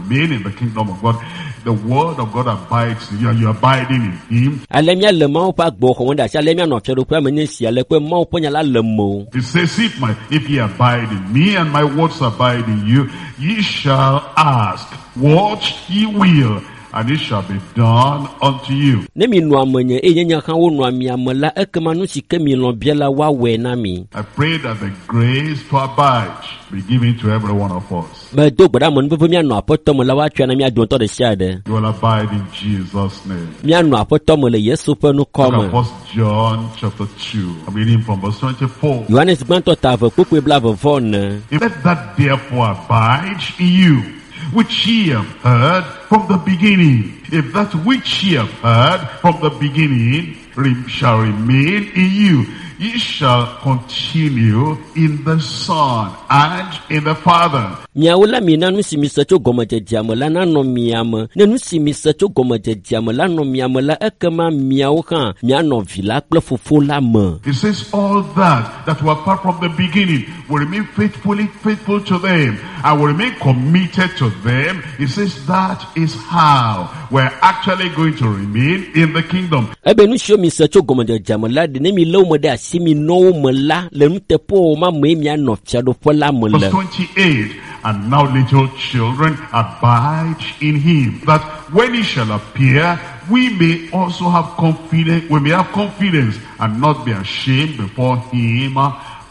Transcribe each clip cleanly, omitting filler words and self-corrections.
remain in the kingdom of God. The word of God abides in you and you are abiding in him. Ale míale Mawu ƒe agbe xɔm ɖe asi ale míanɔ fiaɖuƒea me nye esi ale kpe Mawu ƒe nya la le mewò. It says, if ye abide in me and my words abide in you, ye shall ask what ye will, and it shall be done unto you. Ne mi nɔa menye eye nye nya hã wonɔa mia me la, ekema nu si ke mi lɔ̃ bia la, woawɔe na mi. I pray that the grace to abide be given to every one of us. Medo gbe ɖa amenuveve míanɔ Aƒetɔ me la, woatsɔe na mía dometɔ ɖe sia ɖe. You will abide in Jesus' name. Míanɔ Aƒetɔ me le Yesu ƒe ŋkɔ Look me. at 1 John chapter 2. I'm reading from verse 24. Yohanes gbãtɔ ta eve kpukpui blaeve vɔ ene. Let that therefore abide in you, which ye have heard from the beginning. If that which ye have heard from the beginning shall remain in you, ye shall continue in the Son and in the Father. Miawo la mina nu si mise tso gɔmedzedzea me la nanɔ mia me. Ne nu si mise tso gɔmedzedzea me la nɔ mia me la, ekema miawo hã mianɔ vi la kple fofo la me. It says all that were apart from the beginning will remain faithfully faithful to them and will remain committed to them. It says that is how we're actually going to remain in the kingdom. Ebe nu siwo mise tso gɔmedzedzea me la ɖe ne mi lé wo me ɖe asi mi nɔ wo me la le nuteƒewɔwɔ ma mee mianɔ fiaɖuƒe la me Verse le. 28, and now little children, abide in him, that when he shall appear, we may also have confidence, we may have confidence and not be ashamed before him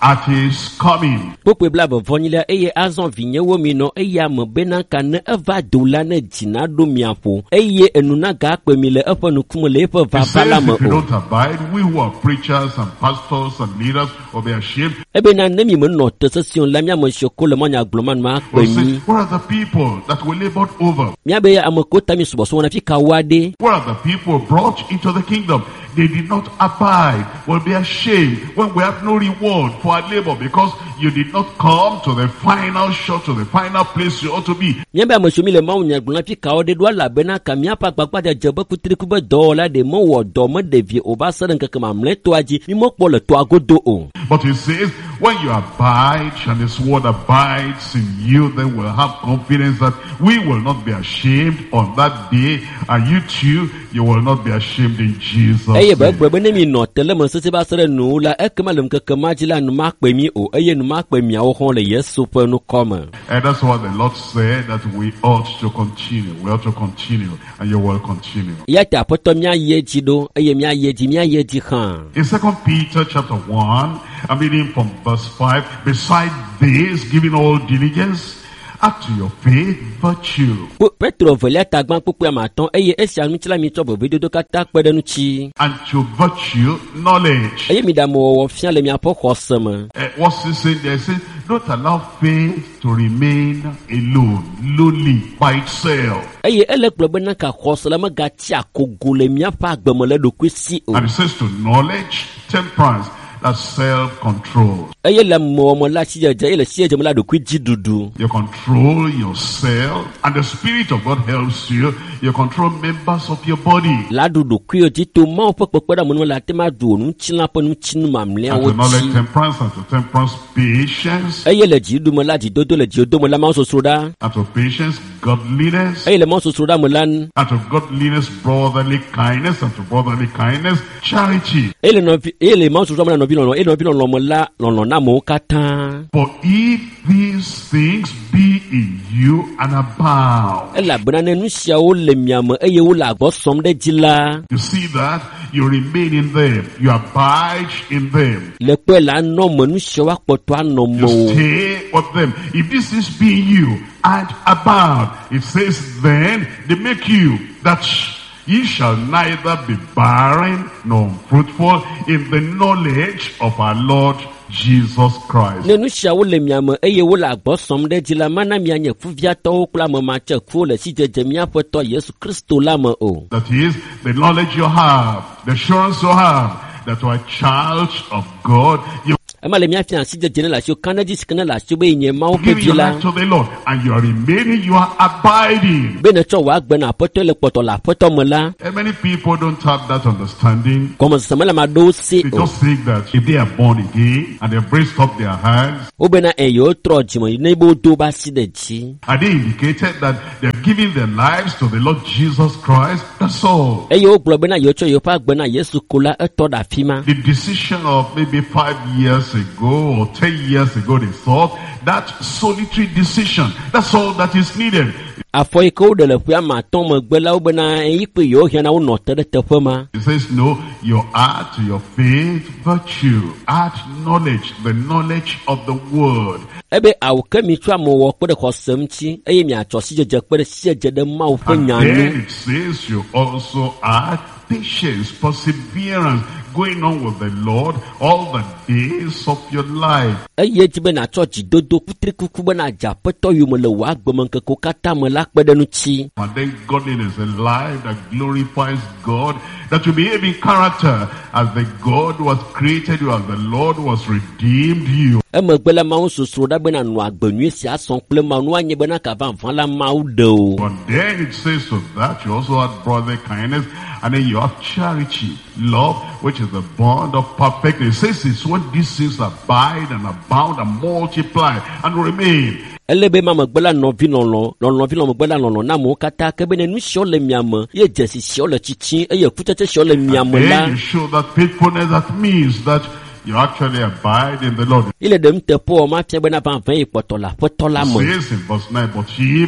at his coming. Kpukpui blaeve vɔ nyilia eye azɔ vinyewo mi nɔ eya me bena ka ne eva do la ne dzi naɖo mia ƒo eye enu nagakpe mi le eƒe ŋkume le eƒe It vava says, la me if you o. don't abide, we who are preachers and pastors and leaders will be ashamed. Ebena ne mi menɔ te sesĩe o la, míame siwo ko le mɔnya gblɔm ma nu akpe We'll say, mi. where are the people that we labored over? Míabe ame kewo ta mi subɔsubɔ na fi ka woa ɖe? Where are the people brought into the kingdom? They did not abide. Will be ashamed when we have no reward for our labor, because you did not come to the final shot, to the final place you ought to be. Míabe ame siwo mi le mawunya gblɔm na fi ka woa ɖe ɖo elabena ka míaƒe agbagbadzedze be kutriku be dɔwɔla ɖe mewɔ dɔ meɖe vi o va se ɖe ŋkeke mamlɛtɔa dzi. Mi mekpɔ le tɔa godo o. But he says, when you abide and his word abides in you, then we'll have confidence that we will not be ashamed on that day, and you too, you will not be ashamed in Jesus' Eye be name. gblɔ be ne mi nɔ te le me sesẽ va se ɖe nuwo la, ekema le ŋkeke ma dzi la, nu makpe mi o eye nu makpe miawo hã le Yesu ƒe ŋkɔ me. And that's what the Lord said, that we ought to continue. We ought to continue, and you will continue. Eya ta Aƒetɔ míayi edzi ɖo eye míayi edzi, míayi edzi hã. In 2 Peter chapter 1, I'm reading from verse 5. Beside this, giving all diligence, add to your faith virtue, Petro evelia ta gbã kpukpui ame atɔ̃ eye esia ŋuti la mitsɔ vevedodo katã kpe ɖe ŋuti. and to virtue, knowledge. Eye miɖe amewɔwɔ fia le miaƒe xɔse me. What's he saying there? He says, don't allow faith to remain alone, lonely, by itself. Eye ele gblɔ bena ka xɔse la megatsi akogo le miaƒe agbe me le ɖokui si o. And he says to knowledge, temperance, that's self-control. Eye le amewɔwɔ me la sidzedze, eye le sidzedze me la ɖokui dzi ɖuɖu. You control yourself, and the Spirit of God helps you. You control members of your body. La ɖu ɖokuiwo dzi to Mawu ƒe kpekpeɖeŋu me la ate ma ɖu wò ŋutilã ƒe ŋutinu And mamlɛawo to knowledge, dzi. temperance, and to temperance, patience. Eye le dziɖuɖu me la dzidodo le dzidodo me la Mawu sosroɖa. And to patience, godliness. Eye le Mawu sosroɖa me la And to godliness, brotherly kindness. And to brotherly kindness, charity. Eye le nɔvi, eye le Mawu sosroɖa me la nɔvi lɔlɔ, eye nɔvi lɔlɔ me la lɔlɔ na amewo katã. For if these things be in you and abound. Elabena ne nu siawo le mia me eye wole agbɔ sɔm ɖe dzi la, You see that? You remain in them. You abide in them. le kpɔe la anɔ me, nu siawo akpɔtɔ anɔ You me o. stay with them. If this is being you and abound, it says then they make you that ye shall neither be barren nor unfruitful in the knowledge of our Lord Jesus Christ. Ne nu siawo le mia me eye wole agbɔ sɔm ɖe dzi la, mana mianye kuviatɔwo kple ame matsekuwo le sidzedze míaƒe tɔ Yesu Kristo la me o. That is, the knowledge you have, the assurance you have, that you are a child of God. You Ema le míafia sidzedze ne le asiwò, ka ɖe edzi si ke ne le asiwò be yenye Mawu ƒe give vi your la. life to the Lord, and you are remaining, you are abiding. Be netsɔ wò agbe na Aƒetɔ le kpɔtɔ le Aƒetɔ me la, And many people don't have that understanding. gɔmesese mele ame aɖewo si They o. just think that if they are born again and they've raised up their hands, Wobena eye wotrɔ dzime ne be wodo woƒe asi ɖe dzi. and they indicated that they've They've given their lives to the Lord Jesus Christ. That's all. Eye wogblɔ bena yewotsɔ yewoƒe agbe na Yesu ko la etɔ ɖe afi ma. The decision of maybe 5 years ago or 10 years ago, they thought that solitary decision, that's all that is needed. Afɔ yi ke woɖe le ƒe ame atɔ̃ megbe la wo bena eyi kpe yewo hiã na wonɔ te ɖe teƒe ma. It says, no, you add to your faith virtue, add knowledge, the knowledge of the word. Ebe awu ke mitsɔ amewɔ kpe ɖe xɔse ŋuti eye miatsɔ sidzedze kpe ɖe sidzedze ɖe Mawu ƒe And nya then nu. it says you also add patience, perseverance, going on with the Lord all the days of your life. Eye dzi be nàtsɔ dzidodo kutrikuku be nàdze aƒetɔ yome le wò agbemeŋkekewo katã me la kpe ɖe ŋuti. And then godliness, a life that glorifies God, that you behave in character as the God who has created you, as the Lord who has redeemed you. Emegbe la Mawu sosro ɖa be nànɔ agbe nyui sia sɔm kple Mawu nu anye bena ka vavã la Mawu ɖe o. But then it says to that you also add brotherly kindness, and then you have charity, love, which is the bond of perfectness. It says it's when these things abide and abound and multiply and remain. Ele be ma megbe la nɔvi lɔlɔ lɔlɔvi lɔ megbe la lɔlɔ na amewo katã ke be ne nu siawo le mia me ye dzesi siawo le tsitsim eye kutsetse siawo le mia me la Then you show that faithfulness, that means that you actually abide in the Lord. ye le ɖem teƒe wɔ ma fia bena vavã yi kpɔtɔ le aƒetɔ la It me. says in verse 9, but he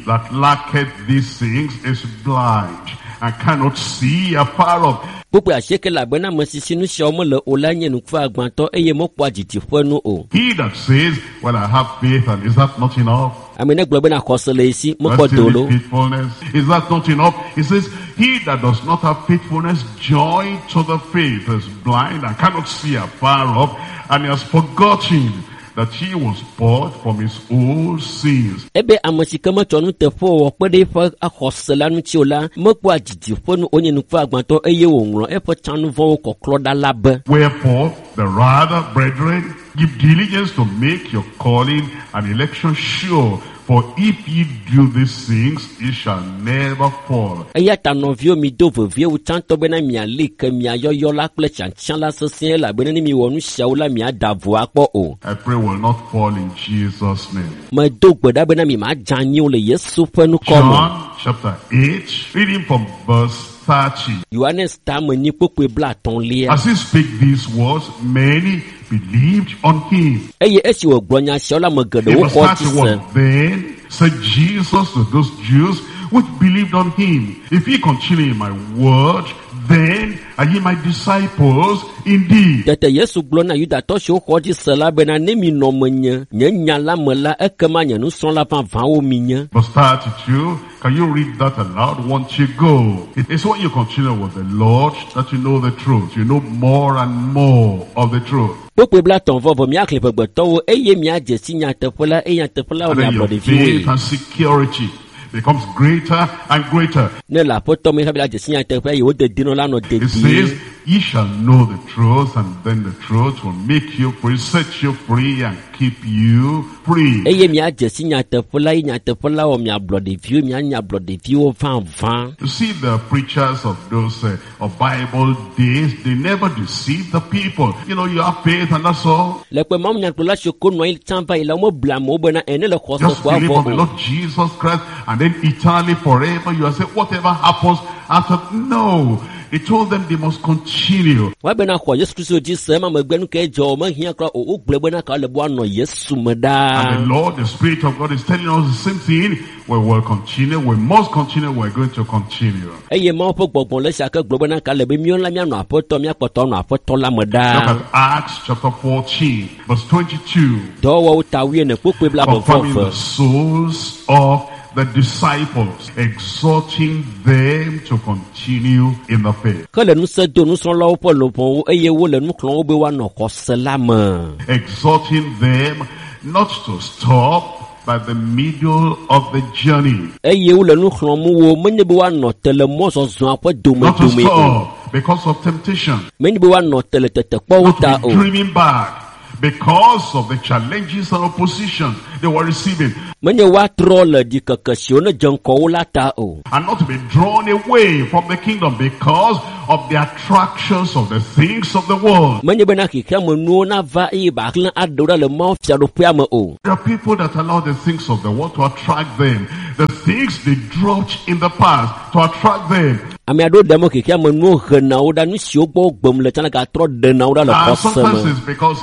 that lacketh these things is blind and cannot see afar off. Kpukpui asieke le abena ame si si nu siawo mele o la nye nukuagbãtɔ eye mekpɔa didiƒe nu o. He that says, well, I have faith, and is that not enough? Ame ne gblɔ bena xɔse le yi si mekpɔ That's do still lo. need faithfulness. Is that not enough? He says, he that does not have faithfulness joined to the faith is blind and cannot see afar off, and he has forgotten that he was bought from his old sins. Ebe ame si ke metsɔ nuteƒewɔwɔ kpe ɖe eƒe xɔse la ŋuti o la mekpɔa didiƒe nu o nye nukuagbãtɔ eye wòŋlɔ eƒe tsanuvɔwo kɔklɔ ɖa la be. Wherefore, the rather, brethren, give diligence to make your calling and election sure. For if ye do these things, ye shall never fall. Eya ta nɔviwo mi do vevie wu tsãtɔ bena miali ke mia yɔyɔ la kple tsiatsiã la sesĩe elabena ne miwɔ nu siawo la miada vo akpɔ o. I pray will not fall in Jesus' name. Medo gbe ɖa bena mi madze anyi o le Yesu ƒe ŋkɔ me. John chapter 8, reading from verse 30. Yohanes ta ame nyi kpukpui blaetɔ̃lia. As he spake these words, many believed on him. Eye esi wògblɔ nya siawo la ame In geɖewo verse xɔ dzi se. 31, then said Jesus to those Jews which believed on him, if ye continue in my word, then are ye my disciples indeed. Tete Yesu gblɔ na Yudatɔ siwo xɔ dzi se la bena ne mi nɔ menye nye nya la me la ekema nye nusrɔ̃la vavãwo mi nye. Verse 32, can you read that aloud once you go? It's when you continue with the Lord that you know the truth. You know more and more of the truth. Kpukpui blaetɔ̃ vɔ vɔ miaxlẽ ƒegbetɔwo eye miadze si nyateƒe la eye nyateƒe la wɔ And then miablɔ your ɖeviwoe. faith and security becomes greater and greater. Ne le aƒetɔ me hafi la dze si nyateƒe eye wo dedinɔ la nɔ It dedie. says, ye shall know the truth, and then the truth will make you free, set you free, and keep you free. Eye miadze si nyateƒe la eye nyateƒe la wɔ miablɔ ɖeviwo mianye ablɔ ɖeviwo vavã. You see, the preachers of those of Bible days, they never deceive the people. You know, you have faith and that's all. Le kpe mawu nyagblɔla siwo ko nɔ anyi tsã va yi la womeble amewo bena ene le xɔse Just koa believe vɔ on the o. Lord Jesus Christ, and then eternally forever you are saying, whatever happens after. No. He told them they must continue. Woabena xɔ Yesu Kristo dzi se ema megbe nu ke dzɔ o mehiã kura o wogblɔe bena ka le be woanɔ Yesu me And the ɖaa. Lord, the Spirit of God is telling us the same thing. We will continue. We must continue. We're going to continue. Eye Mawu ƒe gbɔgbɔ le esia ke gblɔ bena ka le be míawo la míanɔ aƒetɔ míakpɔtɔ anɔ aƒetɔ la me Look ɖaa. at Acts chapter 14, verse 22. Dɔwɔwɔwo ta wuiene kpukpui blaeve vɔ Confirming the eve. souls of the disciples, exhorting them to continue in the faith. Ke le ŋusẽ do nusrɔ̃lawo ƒe luʋɔwo eye wole nu xlɔ̃m wo be woanɔ xɔse la me. Exhorting them not to stop by the middle of the journey. Eye wole nu xlɔ̃m wo menye be woanɔ te le mɔzɔzɔa ƒe Not to domedome o. stop because of temptation. Menye be woanɔ te le tetekpɔwo Not ta to be o. dreaming back because of the challenges and opposition they were receiving, Menye woatrɔ le ɖikeke siwo ne dze ŋgɔ wo la ta o. and not to be drawn away from the kingdom because of the attractions of the things of the world. Menye bena xexea me nuwo nava eye ba xlẽ aɖewo ɖa le Mawu fiaɖuƒea me o. There are people that allow the things of the world to attract them, the things they dropped in the past to attract them. Ame aɖewo ɖe mɔ xexea me nuwo hena wo ɖa, nu siwo gbɔ wogbem le tsã la gatrɔ ɖena wo ɖa le And xɔse sometimes me. it's because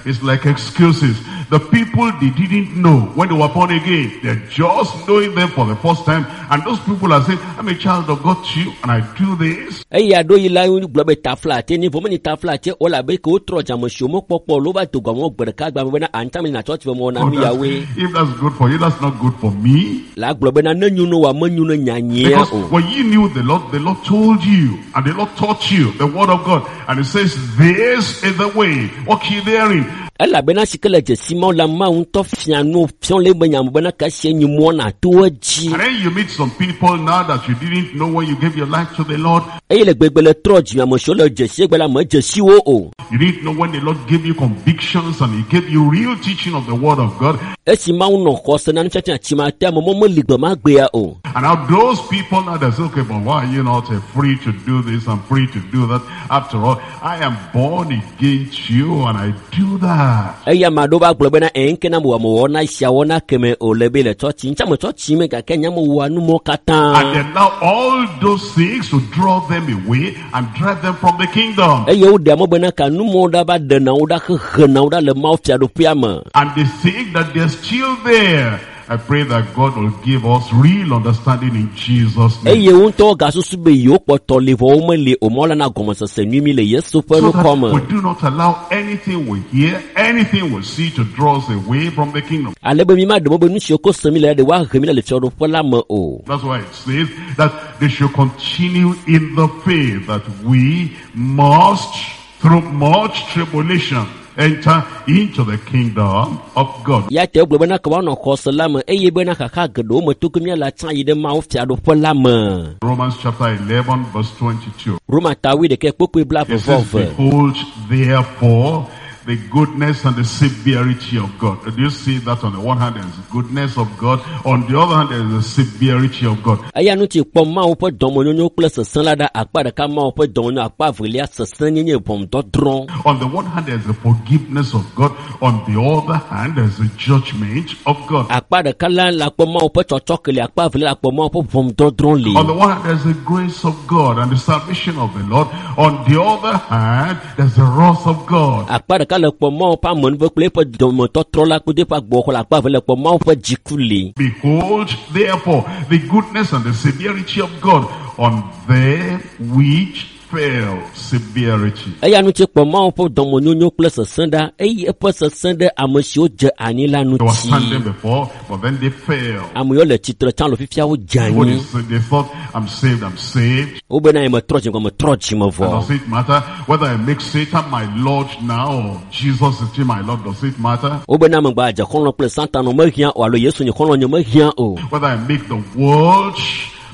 it's like excuses. The people they didn't know when they were born again, they're just knowing them for the first time. And those people are saying, I'm a child of God too, and I do this. Eye aɖewo yi la gblɔ be taflatse ni vɔ menye taflatse o labe ke wotrɔ dzame si womekpɔkpɔ o, wova do gɔme wo gbe ɖeka gba me bena anta me na tsɔtsi be mewɔna Oh, nu yawoe. if that's good for you, that's not good for me. La gblɔ bena ne nyo no wa menyo ne nyanyea Because o. when you knew the Lord told you, and the Lord taught you the word of God. And he says, this is the way, walk ye therein. Elabena si ke le dzesi mawo la Mawu ŋutɔ fia nu fiɔ le ebe nyame bena ka sie nyi mɔ na to edzi. And then you meet some people now that you didn't know when you gave your life to the Lord. Eye le gbegbe le trɔ dzime ame siwo le dzesi egbe la me dzesiwo o. You didn't know when the Lord gave you convictions and he gave you real teaching of the word of God. Esi Mawu nɔ xɔse na nufiafia tsi ma te ame mɔ meli gbe ma gbea o. And now those people now they say, okay, but why are you not free to do this and free to do that? After all, I am born again to you and I do that. Eye ame aɖewo va gblɔ bena eŋke na mewɔ mewɔ na esia wɔ na keme o le be le tsɔtsi. Ŋutsa me tsɔtsi me gake nye mewɔa nu mɔ katã. And then now all those things to draw them away and drive them from the kingdom. Eye woɖea mɔ bena ka numɔwo ɖa va ɖena wo ɖa hehena wo ɖa le Mawu fiaɖuƒea me. And they think that they're still there. I pray that God will give us real understanding in Jesus' name. Eye wo ŋutɔ gasusu be yewo kpɔtɔ li vɔ womeli o mɔ la na gɔmesese nyui mi le Yesu ƒe So ŋkɔ that me. we do not allow anything we hear, anything we see to draw us away from the kingdom. Ale be mi ma ɖe mɔ be nu siwo ko se mi le la ɖe woahe mi le fiaɖuƒe la me o. That's why it says that they should continue in the faith, that we must, through much tribulation, enter into the kingdom of God. Ya te wogblɔ bena ke woanɔ xɔse la me eye bena xaxa geɖewo me to ke míale atsã yi ɖe Mawu fiaɖuƒe la me. Romans chapter 11 verse 22. Roma ta wuiɖekɛ kpokpoe blaeve It vɔ says, eve. behold therefore the goodness and the severity of God. Do you see that on the one hand there is the goodness of God, on the other hand there is the severity of God. Eya ŋuti kpɔ Mawu ƒe dɔmenyonyo kple sesẽ la ɖa akpa ɖeka Mawu ƒe dɔmenyonyo akpa evelia sesẽ nyenye ʋɔnudɔdrɔ̃. On the one hand there is the forgiveness of God, on the other hand there is the judgment of God. Akpa ɖeka la le akpɔ Mawu ƒe tsɔtsɔke le akpa evelia le akpɔ Mawu ƒe ʋɔnudɔdrɔ̃ li. On the one hand there's the grace of God and the salvation of the Lord. On the other hand there's the wrath of God. Akpa ɖeka le kpɔ Mawu ƒe amenuve kple eƒe dɔmetɔtrɔ la kple eƒe agbɔxɔ le akpa eve le kpɔ Mawu ƒe dziku li. Behold, therefore, the goodness and the severity of God on them which fell. Severity. Eya ŋuti kpɔ Mawu ƒe dɔmenyonyo kple sesẽ ɖa eye eƒe sesẽ ɖe ame siwo dze anyi la They were ŋuti. standing before, but then they fell. Ame yiwo le tsitre tsã le fifia wodze What anyi. is, they thought, I'm saved, I'm saved. Wobena nye metrɔ dzime metrɔ dzime And vɔ. does it matter whether I make Satan my Lord now or Jesus is still my Lord? Does it matter? Wobena megba dze xɔlɔ̃ kple Satana mehiã o alo Yesu nye xɔlɔ̃ nye mehiã o. Whether I make the world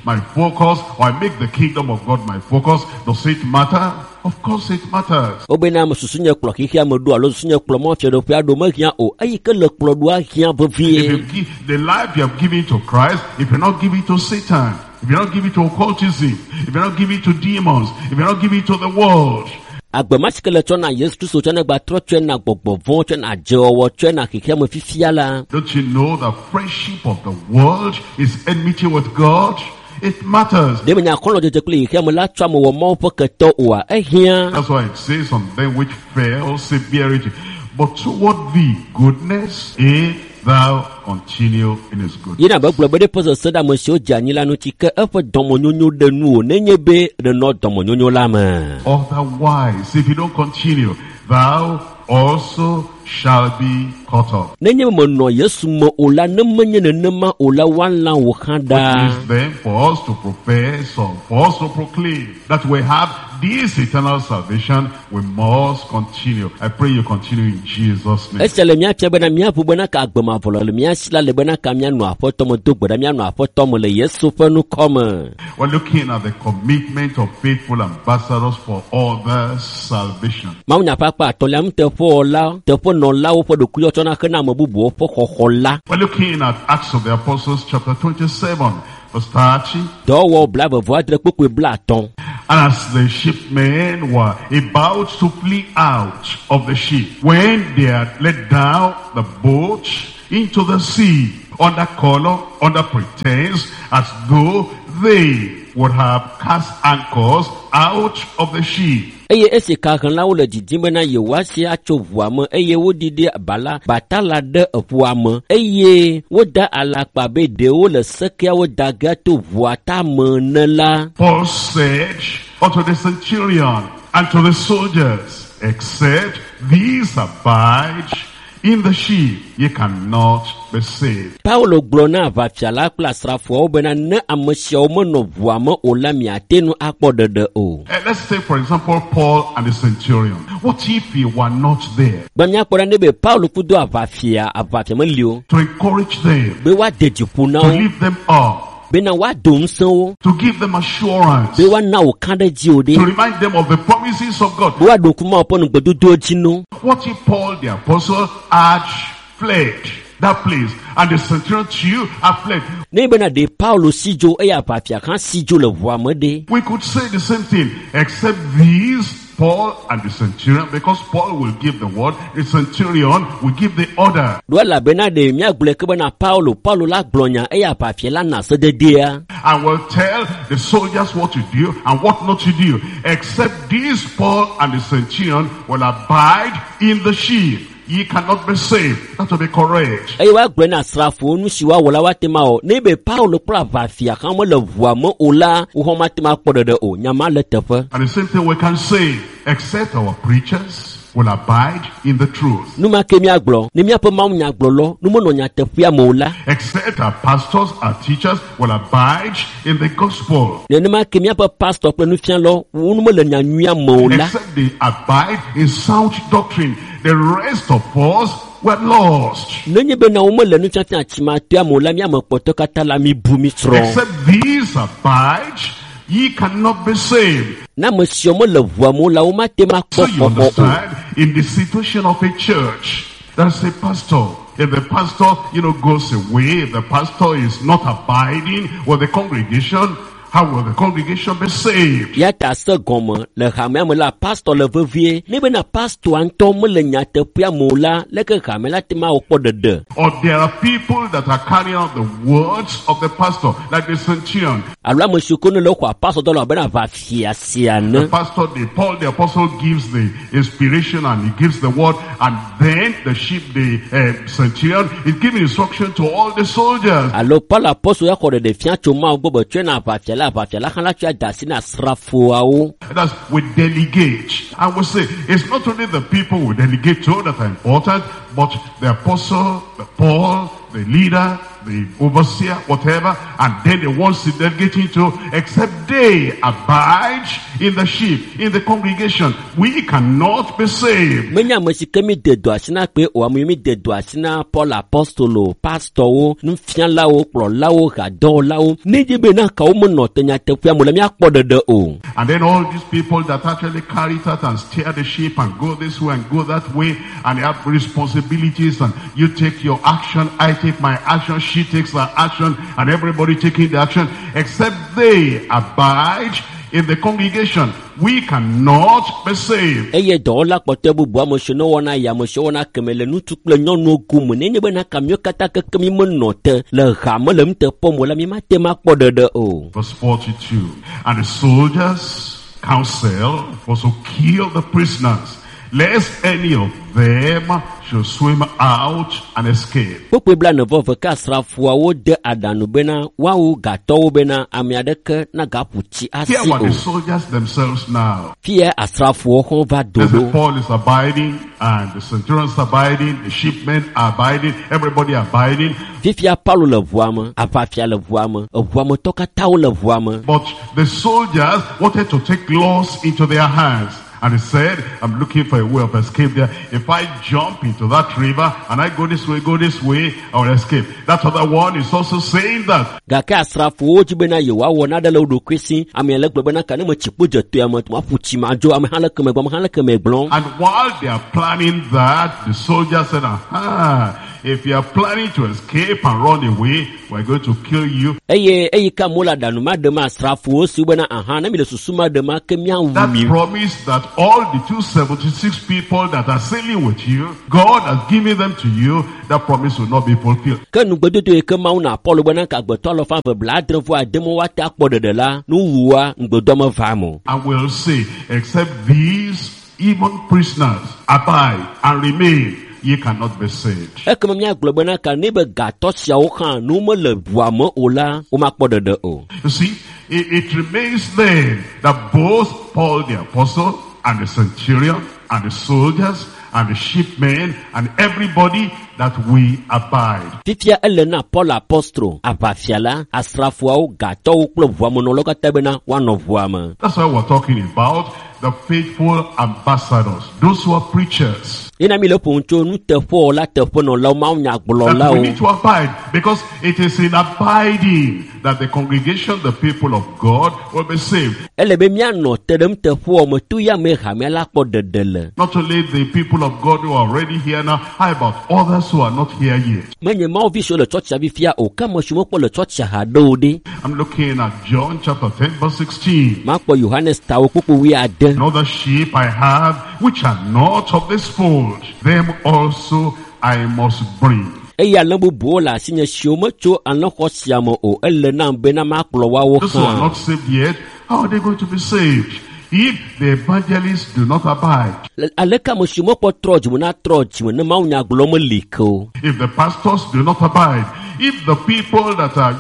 my focus or I make the kingdom of God my focus, does it matter? Of course it matters. Wobena ame susu nye kplɔ xexea me ɖo alo susu nye kplɔ Mawu fiaɖuƒea ɖo mehiã o. Eyi ke le kplɔ ɖoa hiã If vevie. you give the life you have given to Christ, if you're not giving to Satan, if you're not giving to occultism, if you're not giving to demons, if you're not giving to the world, Agbe ma si ke le tsɔ na Yesu Kristo tsɔ na gba trɔ tsɔe na gbɔgbɔ vɔ̃, tsɔe na dzewɔwɔ, tsɔe na xexea me fifia la. don't you know the friendship of the world is enmity with God? It matters. Ɖe menya xɔlɔ̃dzedze kple xexea me la tsɔ ame wɔ Mawu ƒe ketɔ oa? Ehiã. That's why it says on them which fell severity. But toward thee goodness, if thou continue in his goodness. Yina be gblɔ be ɖe ƒe sesẽ ɖe ame siwo dze anyi la ŋuti ke eƒe dɔmenyonyo ɖe nu o nenye be ɖenɔ dɔmenyonyo la me. Otherwise, if you don't continue, thou also shall be cut off. Nenye menɔ Yesu me o la, ne menye nenema o la, woalã wò hã ɖa. It is then for us to profess or for us to proclaim that we have this eternal salvation, we must continue. I pray you continue in Jesus' name. Esia le míafia bena míaƒu bena ka agbemavɔ le mía si la le bena ka míanɔ aƒetɔ me do gbe ɖa míanɔ aƒetɔ me le Yesu ƒe nukɔ me. We're looking at the commitment of faithful ambassadors for others' salvation. Mawunya ƒe akpa atɔ̃lia nuteƒewɔla teƒenɔlawo ƒe ɖokuiwɔtsɔna hena ame bubuwo ƒe xɔxɔ la. We're looking at Acts of the Apostles chapter 27, verse 30. Dɔwɔwɔ 29 kpukpui 50. And as the shipmen were about to flee out of the ship, when they had let down the boat into the sea, under color, under pretense, as though they would have cast anchors out of the ship. Eye esi kahlẽlawo le didim bena yewoasi atso ʋua me eye woɖiɖi bala batala ɖe ʋua me eye woda alakpa be ɖewo le sekeawo da ge to ʋua tame ene la. Paul said unto the centurion and to the soldiers, except these abide in the ship, ye cannot be saved. Paulo gblɔ na aʋafia la kple asrafoawo bena ne ame siawo menɔ ʋua me o la miate ŋu akpɔ ɖeɖe o. Let's say, for example, Paul and the centurion. What if he were not there? Gbe míakpɔ ɖa ne be Paulo kudo aʋafia aʋafia meli o. To encourage them. Be woade dzi ƒo na To wo. lift them up. Bena woado ŋusẽ wo. To give them assurance. Be woana wò ka ɖe dzi o ɖe. To remind them of the promises of God. Be woaɖo ŋku Mawu ƒe nugbedodowo dzi no. What if Paul the apostle had fled that place and the centurion too had fled? Ne bena ɖe Paulo si dzo eye aʋafia hã si dzo le ʋua me ɖe. We could say the same thing, except these, Paul and the centurion, because Paul will give the word, the centurion will give the order. Ɖo elabena ɖe míagblɔe ke bena Paulo, Paulo la gblɔ nya eye aʋafia la na sededea. And will tell the soldiers what to do and what not to do, except these Paul and the centurion will abide in the ship. Ye cannot be saved. That will be correct. Eye woagblɔe na asrafowo nu si woawɔ la woate ma wɔ. Ne be Paulo kple aʋafia hã mele ʋua me o la, wohã mate ma akpɔ ɖeɖe o. Nya ma le teƒe. And the same thing we can say, except our preachers will abide in the truth. Nu ma ke míagblɔ, ne míaƒe mawunyagblɔlɔ, nu menɔ nyateƒea me o la. Except our pastors, our teachers will abide in the gospel. Nenema ke míaƒe pastor kple nufialɔ, wo nu mele nyanyuia me o la. Except they abide in sound doctrine. The rest of us were lost. Nenye bena womele nufiafia tsimatɔa me o la, míame kpɔtɔ katã la mi bu mi srɔ̃. Except these abide, ye cannot be saved. Na ame siawo mele ʋua me o la, womate ma So kpɔ you xɔxɔ o. understand, in the situation of a church, there's a pastor. If the pastor, goes away, if the pastor is not abiding with the congregation, how will the congregation be saved? Ya ta se gɔme le hamea me la, pastor le vevie. Ne bena pastor ŋutɔ mele nyateƒea me o la, leke hame la te ma wɔ kpɔ ɖeɖe? Or there are people that are carrying out the words of the pastor, like the centurion. Alo ame siwo ke ne le xɔa pastor dɔ le abe na aʋafia sia The ene. pastor, the Paul the apostle gives the inspiration and he gives the word, and then the sheep, the centurion is giving instruction to all the soldiers. Alo Paul apostle ya xɔ ɖeɖe fia tso Mawu gbɔ be tsɔe na aʋafia la, aʋafia la hã la tsɔe da asi na asrafoawo. That's we delegate. And we say, it's not only the people we delegate to that are important, but the apostle, the Paul, the leader, the overseer, whatever, and then the ones delegating to, except they abide in the sheep, in the congregation. We cannot be saved. Menye ame si ke mi de do asi na kpe o, ame mi de do asi na Paul apostolo, pastorwo, nufialawo, kplɔlawo, hadɔwɔlawo. Ne dzi be na kawo menɔ te nyateƒea me le míakpɔ ɖeɖe o. And then all these people that actually carry it out and steer the ship and go this way and go that way, and they have responsibilities, and you take your action, I take my action, she takes her action, and everybody taking the action, except they abide in the congregation. We cannot be saved. Eye dɔwɔla kpɔtɔe bubu ame siwo ne wɔna ya, ame siwo wɔna keme le ŋutsu kple nyɔnuwo gome. Nenye bena ka míawo katã keke mi menɔ te le hame le nuteƒe me la, mi mate ma kpɔ ɖeɖe o. Verse 42. And the soldiers' counsel was to kill the prisoners, lest any of them should swim out and escape. Kpukpui 41 ke asrafoawo de aɖaŋu bena woawu gatɔwo bena ame aɖeke nagaƒu tsi asi Here were o. the soldiers themselves now. Fia asrafowo hã va do As ɖo. Paul is abiding, and the centurions abiding, the shipmen abiding, everybody abiding. Fifia Paulo le ʋua me, aʋafia le ʋua me, eʋua me tɔ katã wole ʋua me. But the soldiers wanted to take laws into their hands. And he said, I'm looking for a way of escape there. If I jump into that river and I go this way, I will escape. That other one is also saying that. Gake asrafowo dzi bena yewoawɔ naɖe le wo ɖokui si. Ame le gblɔ bena ka ne metsi kpo dze toa me, maƒu tsi madzo. Ame hã le keme gblɔm, ame hã le keme gblɔm. And while they are planning that, the soldiers said, aha, if you are planning to escape and run away, we're going to kill you. Eye eyi ke amewo le aɖaŋu ma ɖem asrafowo si bena aha ne mi le susu ma ɖem ke míawu That mi. promise that all the 276 people that are sailing with you, God has given them to you, that promise will not be fulfilled. Ke nugbedodo yi ke Mawu na Paulo bena ka agbetɔ alafa eve 75 woate akpɔ ɖeɖe la, nuwuwua ŋugbedoa meva eme o. And we'll say, except these even prisoners abide and remain, ye cannot be saved. Ekema míagblɔ bena ka ne be gatɔ siawo hã ne womele ʋua me o la, womakpɔ ɖeɖe o. You see, it remains then that both Paul the apostle and the centurion and the soldiers and the shipmen and everybody that we abide. Fifia ele na Paul apostro, aʋafia la, asrafoawo, gatɔwo kple ʋuamenɔlawo katã bena woanɔ ʋua me. That's why we're talking about the faithful ambassadors, those who are preachers. Yena mi le ƒom tso nuteƒewɔla teƒenɔlawo, That we mawunyagblɔlawo. need to abide, because it is in abiding that the congregation, the people of God, will be saved. Ele be míanɔ te ɖe nuteƒewɔ me to ya me hamea la kpɔ ɖeɖe le. Not only the people of God who are already here now, how about others who are not here yet? Menye Mawu vi siwo le tsɔtsia fifia o, ke ame siwo mekpɔ le tsɔtsia haɖe o ɖe. I'm looking at John chapter 10 verse 16. Makpɔ Yohanes tawo kpukpu 20. Another sheep I have, which are not of this fold, them also I must bring. Eye alẽ bubuwo le asinye siwo metso alẽxɔ sia me o, ele nam bena makplɔ woawo Those who are hã. not saved yet, how are they going to be saved? If the evangelists do not abide, Aleke ame siwo mekpɔ trɔ dzime na trɔ dzime ne mawunyagblɔ meli ke o. if the pastors do not abide, if the people that are,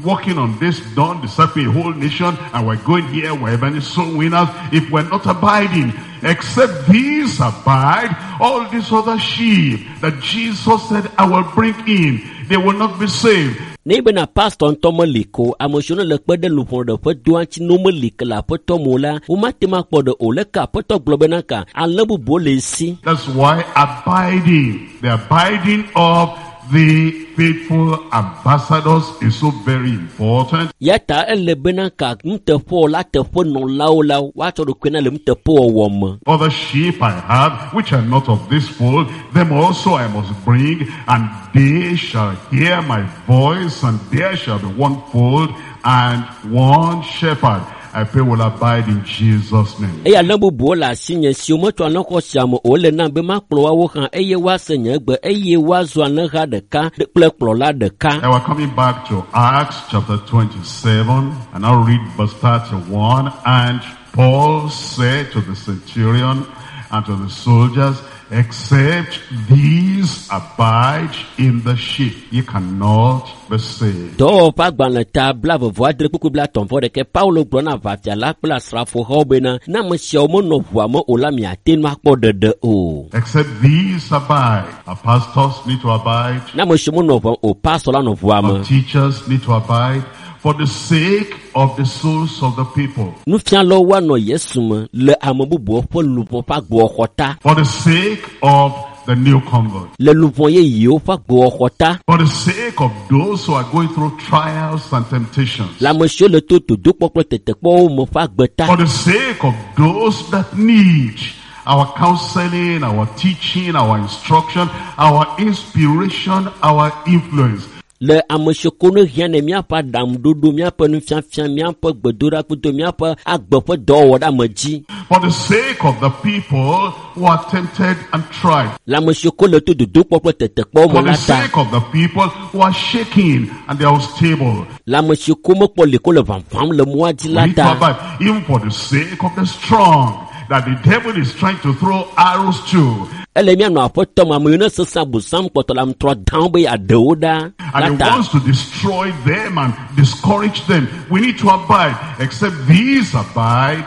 working on this, don't disciple a whole nation, and we're going here, we're evangelist soul winners, if we're not abiding, except these abide, all these other sheep that Jesus said, I will bring in, they will not be saved. Ne bena pastor ŋutɔ meli ke o, ame siwo ne le kpe ɖe luʋɔ ƒe doa ŋuti ne womeli ke le aƒetɔ me o la, womate ŋu akpɔ ɖe o. Leke aƒetɔ gblɔ bena ka alẽ bubuwo le esi. That's why abiding, the abiding of the faithful ambassadors is so very important. Ya ta ele bena ka nuteƒewɔla teƒenɔlawo la woatsɔ ɖokui na le nuteƒewɔwɔ me. Other sheep I have, which are not of this fold, them also I must bring, and they shall hear my voice, and there shall be one fold and one shepherd. I pray will abide in Jesus' name. Eye alẽ bubuwo le asinye siwo metso alẽxɔ sia me o, ele nam be makplɔ woawo hã eye woase nye gbe eye woazu alẽha ɖeka kple kplɔla ɖeka. Now we're coming back to Acts chapter 27, and I'll read verse 31. And Paul said to the centurion and to the soldiers, except these abide in the ship, ye cannot be saved. Dɔwɔwɔ ƒe agbalẽ ta 28 kpukpui 36 Paulo gblɔ na aʋafia la kple asrafohawo bena ne ame siawo menɔ ʋua me o la miate ŋu akpɔ ɖeɖe o. Except these abide. Our pastors need to abide. Ne ame siwo menɔ ʋua me o, pastor la nɔ ʋua Our me. teachers need to abide for the sake of the souls of the people. Nufialawo woanɔ Yesu me le ame bubuwo ƒe luʋɔ ƒe agbewɔxɔ ta. For the sake of the new convert. Le luʋɔ yeyewo ƒe agbewɔxɔ ta. For the sake of those who are going through trials and temptations. Le ame siwo le to dodokpɔ kple tetekpɔwo me ƒe agbe ta. For the sake of those that need our counseling, our teaching, our instruction, our inspiration, our influence. Le ame siwo ko ne hiã ne míaƒe aɖaŋuɖoɖo, míaƒe nufiafia, míaƒe gbedoɖa míaƒe agbe ƒe dɔwɔwɔ ɖe ame dzi. For the sake of the people who are tempted and tried. Le ame siwo ko le to dodokpɔ kple tetekpɔwo me For the la ta. sake of the people who are shaking and they are unstable. Le ame siwo ko mekpɔ li ko le ʋaʋãm le mɔa dzi We la need to ta. abide, even for the sake of the strong. that the devil is trying to throw arrows to. Ele míanɔ aƒetɔ me ame yiwo ne sesẽ abosam kpɔtɔ le aŋutrɔ dam be yeaɖe wo ɖa And la he ta. wants to destroy them and discourage them. We need to abide. Except these abide,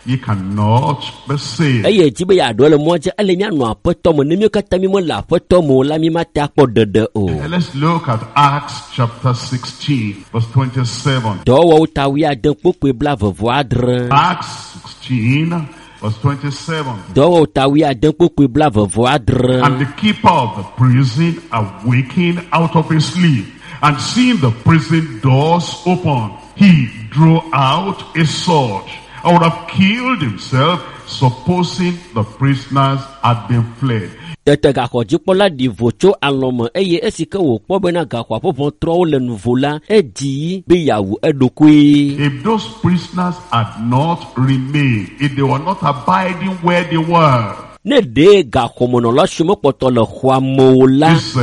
ye cannot be saved. Eye dzi be yeaɖo le mɔa dzi ele míanɔ aƒetɔ me ne míwo katã mi mele aƒetɔ me o la mi mate akpɔ ɖeɖe o. And let's look at Acts chapter 16, verse 27. Dɔwɔwɔwo ta wuiade kpokpoe blaeve vɔ adre. Acts 16, verse 27. Dɔwɔwɔwo ta wuiade kpokpoe blaeve vɔ adre. And the keeper of the prison awakened out of his sleep, and seeing the prison doors open, he drew out a sword and would have killed himself, supposing the prisoners had been fled. Tete gaxɔdzikpɔla ɖi vo tso alɔme eye esi ke wòkpɔ bena gaxɔa ƒe ʋɔtruawo le nuvo la, edzi be yeawu eɖokui. If those prisoners had not remained, if they were not abiding where they were, Ne ɖe gaxɔmenɔla siwo mekpɔtɔ le xɔa me o la, this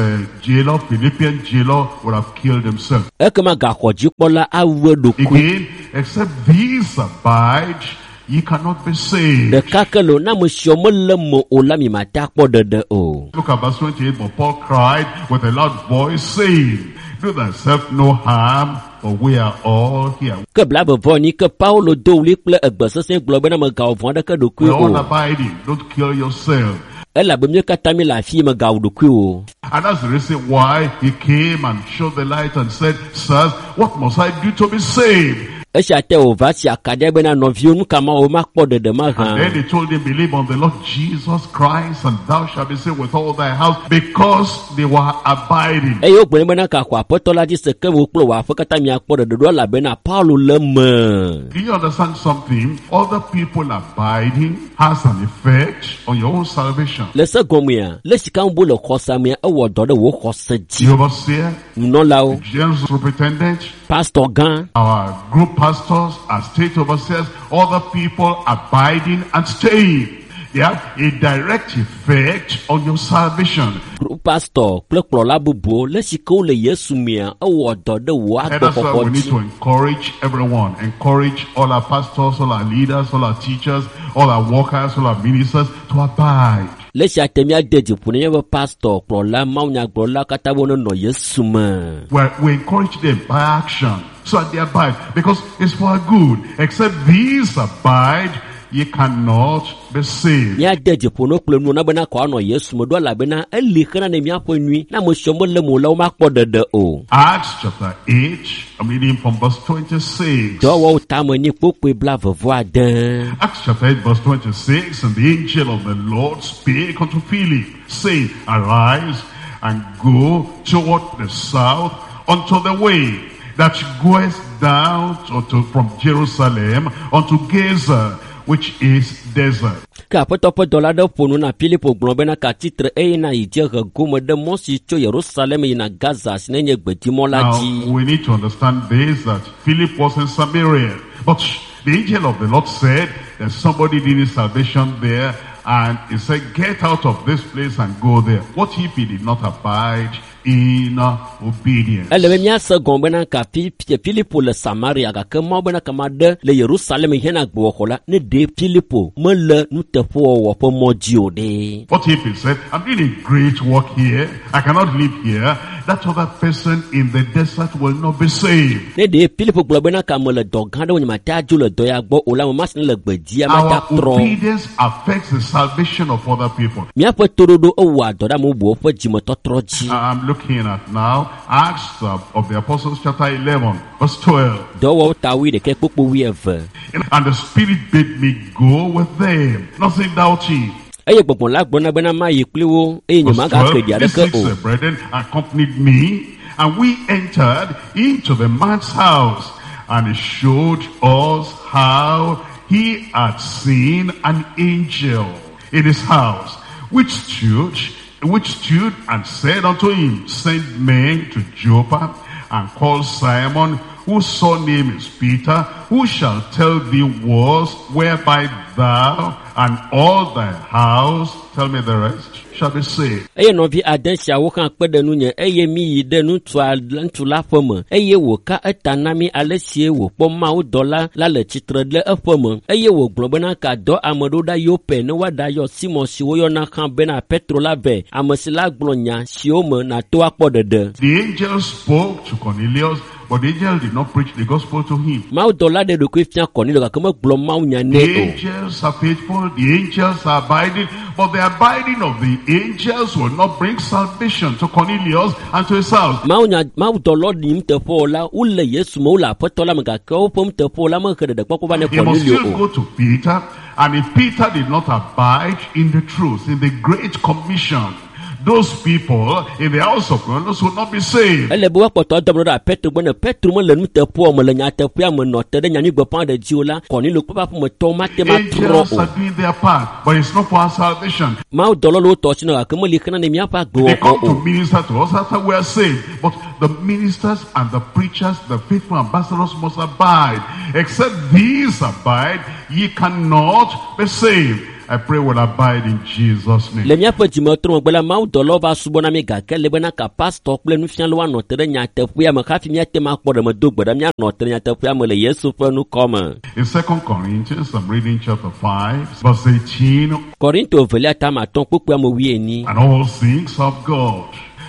jailer, Philippian jailer, would have killed himself. ekema gaxɔdzikpɔla awu eɖokui. Again, except these abide, ye cannot be saved. Ɖeka ke le na ame siwo mele me o la mi mate akpɔ ɖeɖe o. Look at verse 28. But Paul cried with a loud voice, saying, Do thyself no harm, for we are all here. Ke blaeve vɔ enyi ke Paulo do ɣli kple egbe sesẽ gblɔ bena mègawɔ vɔ̃ aɖeke We ɖokui are all o. abiding. Don't kill yourself. Elabe míwo katã mi le afi mègawu ɖokui o. And that's the reason why he came and showed the light and said, Sirs, what must I do to be saved? Esia te wòva si akaɖia bena nɔviwo nu ka mawɔ makpɔ ɖeɖe mahã. And then they told him, Believe on the Lord Jesus Christ, and thou shalt be saved with all thy house, because they were abiding. Eye wogblɔ nɛ bena gaxɔ aƒetɔ la dzi se ke wò kple wò aƒe katã miakpɔ ɖeɖe ɖo elabena Paulo le me. Do you understand something? Other people abiding has an effect on your own salvation. Le se gɔmea, le sika ŋu le xɔsa mea, ewɔ dɔ ɖe wò xɔse dzi. The overseer, Nunɔlawo, general superintendent, pastor gã, our group pastors, our state overseers, other people abiding and staying. They have a direct effect on your salvation. group pastor kple kplɔla bubuwo le sike wole Yesu mea, ewɔ dɔ ɖe wò And that's why agbexɔxɔ we need dzi. to encourage everyone. Encourage all our pastors, all our leaders, all our teachers, all our workers, all our ministers to abide. Le sia te míade dzi ƒo ne míaƒe pastor, kplɔla, mawunyagblɔla katã be wonenɔ Yesu me. Well, we encourage them by action so that they abide, because it's for our good. Except these abide, ye cannot be saved. Míade dzi ƒo ne kple nuwo na bena kɔ anɔ Yesu me ɖo elabena eli xena ne míaƒe nyui. Ne ame siwo mele me o la, womakpɔ ɖeɖe o. Acts chapter 8, I'm reading from verse 26. Dɔwɔwɔwo tame nyi kpokpoe blaeve vɔ ade. Acts chapter 8, verse 26, and the angel of the Lord spake unto Philip, saying, Arise and go toward the south unto the way that goeth down from Jerusalem unto Gaza, which is desert. Ke aƒetɔ ƒe dɔla aɖe ƒo nu na Filipo gblɔ bena katsitre eye na yi dziehe gome ɖe mɔ si tso Yerusalem yina Gaza si nenye gbedimɔ la Now, dzi. we need to understand this, that Philip was in Samaria. But the angel of the Lord said that somebody needed salvation there, and he said, get out of this place and go there. What if he did not abide in obedience? Ele be míase gɔme bena ka Filipo le Samaria gake Mawu bena kama ɖe le Yerusalem hena gbewɔxɔ la ne ɖe Filipo mele nuteƒewɔwɔ ƒe mɔ dzi o ɖe. What if he said, I'm doing a great work here, I cannot live here, that other person in the desert will not be saved. Ne ɖe Filipo gblɔ bena ka me le dɔ gã ɖe wo nye mate adzo le dɔ ya gbɔ o la, ame ma si ne le gbedzia mate Our atrɔ. obedience affects the salvation of other people. Míaƒe toɖoɖo ewɔa dɔ ɖe ame bubuwo ƒe dzimetɔtrɔ dzi. I'm looking at now Acts of the Apostles chapter 11 verse 12. Dɔwɔwɔwo ta wuiɖekɛ kpokpo wuieve. And the Spirit bade me go with them, nothing doubting. Eye gbɔgbɔ la gblɔ na bena mayi kpli wo eye Verse nyemagake 12, ɖi these aɖeke six o. brethren accompanied me, and we entered into the man's house, and he showed us how he had seen an angel in his house, which stood and said unto him, Send men to Joppa and call Simon, whose surname is Peter, who shall tell thee words whereby thou and all thy house, tell me the rest, shall be saved. Eye nɔvi ade siawo hã kpe ɖe nunye eye míyi ɖe ŋutsu la ƒe me eye wòka eta na mí ale sie wòkpɔ mawudɔla la le tsitre ɖe eƒe me eye wògblɔ bena ka dɔ ame ɖo ɖa Yope ne woaɖayɔ Simɔn si woyɔna hã bena Petro la vɛ, ame si la gblɔ nya siwo me nàto akpɔ ɖeɖe. The angel spoke to Cornelius, but the angel did not preach the gospel to him. Mawudɔla ɖe ɖokui fia Cornelio gake megblɔ mawunya The nɛ o. angels are faithful, the angels are abiding, but the abiding of the angels will not bring salvation to Cornelius and to his house. Mawunya mawudɔlawo ɖi nuteƒewɔla wole Yesu me wole aƒetɔ la me gake woƒe nuteƒewɔla mehe ɖeɖekpɔkpɔ va ne He must Cornelio still o. go to Peter, and if Peter did not abide in the truth, in the great commission, those people in the house of Cornelius would not be saved. Ele be woakpɔtɔ adɔ ame ɖo ɖe Petro gbɔ ne Petro mele nuteƒewɔ me le nyateƒea me nɔ te ɖe nyanyuigbeƒã ɖe dzi o la, Cornelio kple eƒe aƒemetɔwo mate ŋu atrɔ Angels o. are doing their part, but it's not for our salvation. Mawudɔlawo le wo tɔ si nɔ gake meli xena ne míaƒe They agbewɔwɔ come o. to minister to us after we are saved. But the ministers and the preachers, the faithful ambassadors must abide. Except these abide, ye cannot be saved. I pray we'll abide in Jesus' name. Le míaƒe dzimetrɔ megbe la, mawudɔlawo va subɔ na mí gake le bena ka pastɔ kple nufialawo anɔ te ɖe nyateƒea me hafi míate ŋu akpɔ ɖe me do gbe ɖa míanɔ te ɖe nyateƒea me le Yesu ƒe ŋkɔ me. In 2 Corinthians, I'm reading chapter 5, verse 18. Korinto evelia tame atɔ̃ kpukpui ame wuienyi. And all things of God,